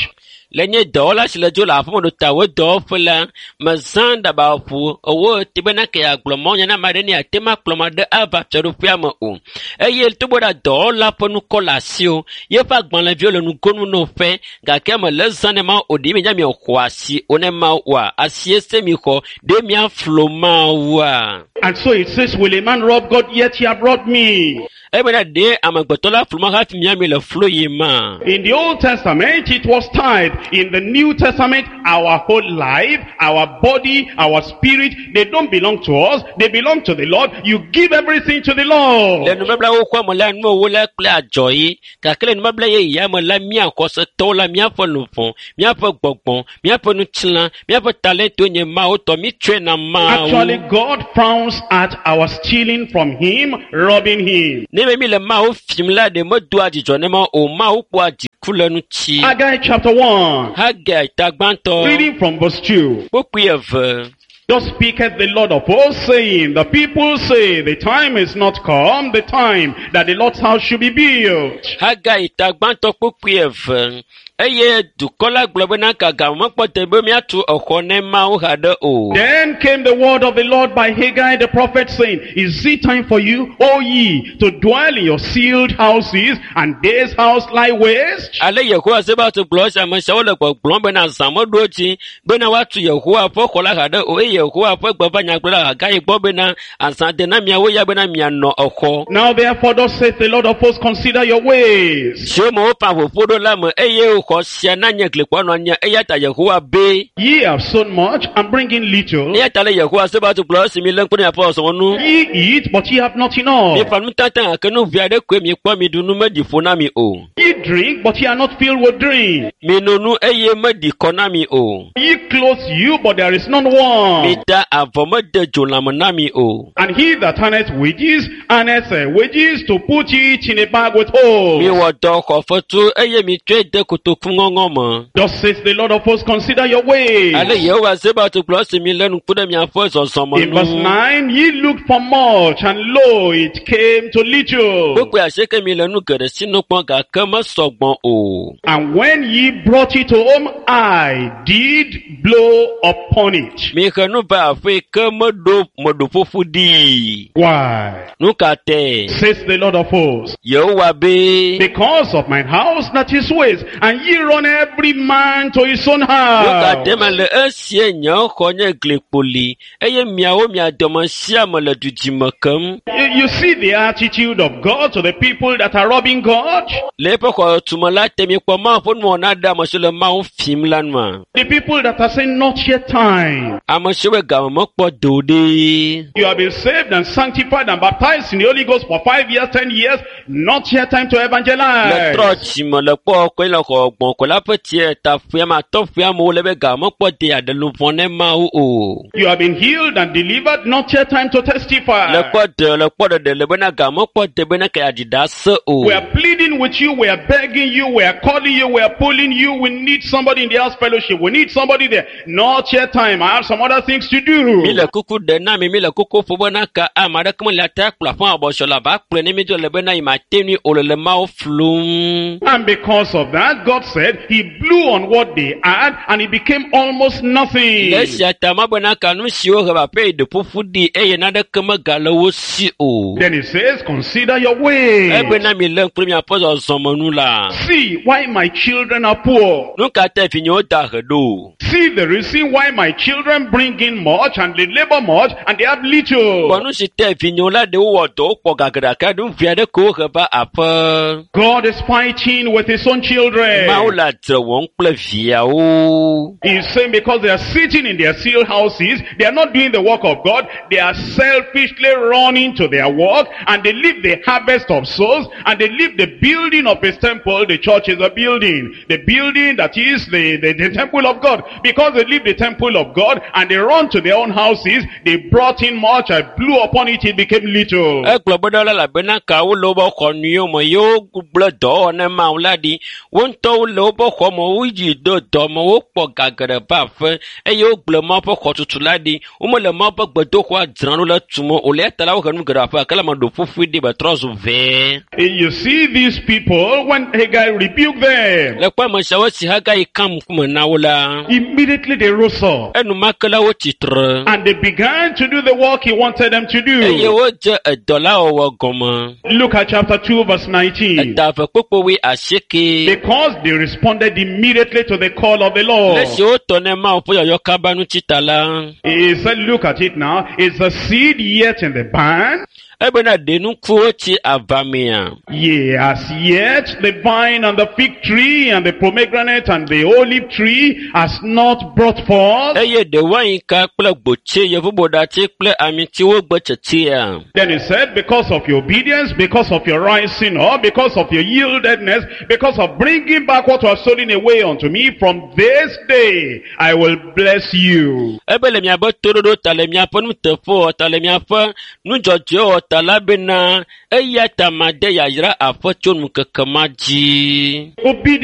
Le nye dɔwɔla si le dzo le aƒeme ɖo ta wo dɔwɔƒe la, mezã ɖabaƒo ewo te bena ke yeagblɔ mawunya na ame aɖe ne yeate ŋu akplɔ ame aɖe ava fiaɖuƒea me o. Eye togbɔ ɖe dɔwɔla ƒe ŋkɔ le asiwò, yeƒe agbalẽviwo le nugonu na woƒe, gake mele zã ne Mawu o. Ɖe mienya miexɔ asi o ne Mawu oa? Asie se mixɔ, ɖe miaflo Mawua? And so it says, will a man rob God? Yet he have robbed me. Ebena ɖe amegbetɔ la flu ma hafi miami le flo yi ma. In the Old Testament, it was tithe. In the New Testament, our whole life, our body, our spirit, they don't belong to us. They belong to the Lord. You give everything to the Le Lord. nubabla xoxoa me la, nuwo la kple adzɔ yi. Gake le nubabla yeyea me la, mía xɔsetɔwo la, míaƒe luʋɔ, míaƒe gbɔgbɔ, míaƒe ŋutilã, míaƒe talento nye Mawu tɔ. Mítsɔe na Actually, Mawu. God frowns at our stealing from him, robbing him. Ne be mi le Mawu fim la, ɖe medoa dzidzɔ ne Mawu o. Mawu kpɔa dziku le ŋuti. Haggai chapter 1, Hagai ta gbãtɔ, reading from verse 2. kpukpui eve. Thus speaketh the Lord of hosts, saying, the people say, the time is not come, the time that the Lord's house should be built. Hagai ta gbãtɔ kpukpui eve. Eye dukɔ la gblɔ bena gaga mekpɔ te be míatu exɔ ne Mawu haɖe o. Then came the word of the Lord by Haggai the prophet, saying, is it time for you, O ye, to dwell in your sealed houses, and this house lie waste? Ale Yehowa Zebaot gblɔ esi ame siawo le gbɔgblɔm bena zã meɖo dzi bena woatu Yehowa ƒe xɔ la haɖe o eye Yehowa ƒe gbe va nyagblɔɖila Hagai gbɔ bena azã de na miawo ya bena mianɔ exɔ. Now therefore thus saith the Lord of hosts, consider your ways. Siwo me woƒã ʋuƒo ɖo la me eye xɔ sia na nye glikpɔ nɔ anyi eya ta Yehowa be. Ye have sown much and bring in little. Eya ta le Yehowa Zebaot gblɔ esi mi lé ŋku ɖe miaƒe zɔzɔmɔ nu. Ye eat, but ye have not enough. Mieƒã nutata gake nu vi aɖe koe miekpɔ miɖu nu meɖi ƒo na mi o. Ye drink, but ye are not filled with drink. Mino nu eye meɖi kɔ na mi o. Ye clothe you, but there is none warm. Mita avɔ mede dzo lãme na mi o. And he that earneth wages, earneth wages to put it in a bag with holes. Miwɔ dɔ xɔ fetu eye mitsɔe de kotoku ŋɔŋɔ me. Thus says the Lord of hosts, consider your ways. Ale Yehowa Zebaot gblɔ esi mi lé ŋku ɖe miaƒe zɔzɔme In verse nu. 9, ye looked for much, and lo, it came to little. Kpukpui asieke mi le nu geɖe sinu kpɔm gake mesɔgbɔ o. And when ye brought it home, I did blow upon it. Mihe nu va aƒe ke meɖo meɖo ƒuƒu ɖii. Why? Nu ka tae? Says the Lord of hosts. Yehowa be. Because of mine house that is waste, and ye run every man to his own Nu ka tae house. mele esie nye xɔ nye glikpoli eye miawo mia dome sia ame le dudime kem. You see the attitude of God to the people that are robbing God? Le eƒe xɔtume la te miekpɔ Mawu ƒe nuwɔna ɖe ame siwo le Mawu fim la nua. The people that are saying, not yet time. Ame siwo be game mekpɔ do ɖi. You have been saved and sanctified and baptized in the Holy Ghost for 5 years, 10 years. Not yet time to Le evangelize. trɔ dzime le kpɔ kɔe le xɔ gbɔn ko la ƒe tie ta ƒea ma tɔ ƒea amewo le be game mekpɔ de aɖe luʋɔ ne Mawu o. You have been healed and delivered. Not yet time to Le testify. kpɔ de le kpɔ ɖeɖe le bena game mekpɔ de bena ke aɖi ɖase o. We are pleading with you. We are begging you. We are calling you. We are pulling you. We need somebody in the house fellowship. We need somebody there. Not yet time. I have some other things to Mi do. le kuku ɖe na mi, mi le kuku ƒo bena ka ame aɖeke mele ate akplɔ aƒe abɔsɔ la va kplɔe ne mi dzo le bena yi ma te nui o le le Mawu flum. And because of that, God said he blew on what they had and it became almost nothing. Le esia ta ma bena ka nu siwo he va aƒe yi ɖe ƒuƒu ɖi eye naneke megale wo si o. Then he says, consider your ways. Ebena mi lé ŋku ɖe miaƒe zɔzɔme nu la. See why my children are poor. Nu ka ta vinyewo da he ɖo? See the reason why my children bring in much and they labor much and they have little. Kpɔ nu si te vinyewo la ɖe wowɔ dɔ wokpɔ ga geɖe gake nu vi aɖe ko wohe va aƒe. God is fighting with his own children. Mawu le adzre wɔm kple viawo. He's saying because they are sitting in their sealed houses, they are not doing the work of God, they are selfishly running to their work, and they leave the harvest of souls, and they leave the building of his temple. The church is a building. The building that is the temple of God. Because they leave the temple of God, and they run to their own houses, they brought in much, I blew upon it, it became little. Egblɔ be ɖe elabena ka wole woƒe xɔ nyuiwo me ye wogblẽ dɔwɔwɔ ne Mawu la ɖi. Wo ŋutɔwo le woƒe xɔ me, woyi do dɔ me, wokpɔ ga geɖe va aƒe eye wogblẽ Mawu ƒe xɔtutu la ɖi. Womele Mawu ƒe gbedoxɔa dzram ɖo le tum o. Le eya ta la wohe nu geɖe aƒe gake le ame ɖo ƒuƒui ɖi be trɔ zu vɛɛ. You see these people, when Haggai rebuked them, Le kpɔ ame siawo si Hagai ka ŋkume na wo la, immediately they rose up. Enumake la wotsi tre And they began to do the work he wanted them to eye do. wodze edɔ la wɔwɔ gɔme. Look at chapter 2 verse 19. Eta eve kpokpo 18. Because they responded immediately to the call of the Lord. Le esi wotɔ ne Mawu ƒe yɔyɔ kaba ŋuti ta la, He said, look at it now. Is the seed yet in the barn? Ebena ɖe nukuwo tsi ava mea? Yea, as yet the vine and the fig tree and the pomegranate and the olive tree has not brought forth. Eye ɖe wainka kple gbotse, yevuboɖati kple amitiwo gbe tsetsia? Then he said, because of your obedience, because of your rising up, because of your yieldedness, because of bringing back what was stolen away unto me, from this day I will bless you. Ebe le miaƒe toɖoɖo ta le miaƒe nuteƒewɔwɔ ta le miaƒe nudzɔdzɔewɔwɔ ta la bena eya ta made yayra aƒe tso ŋkeke ma dzi. Obedience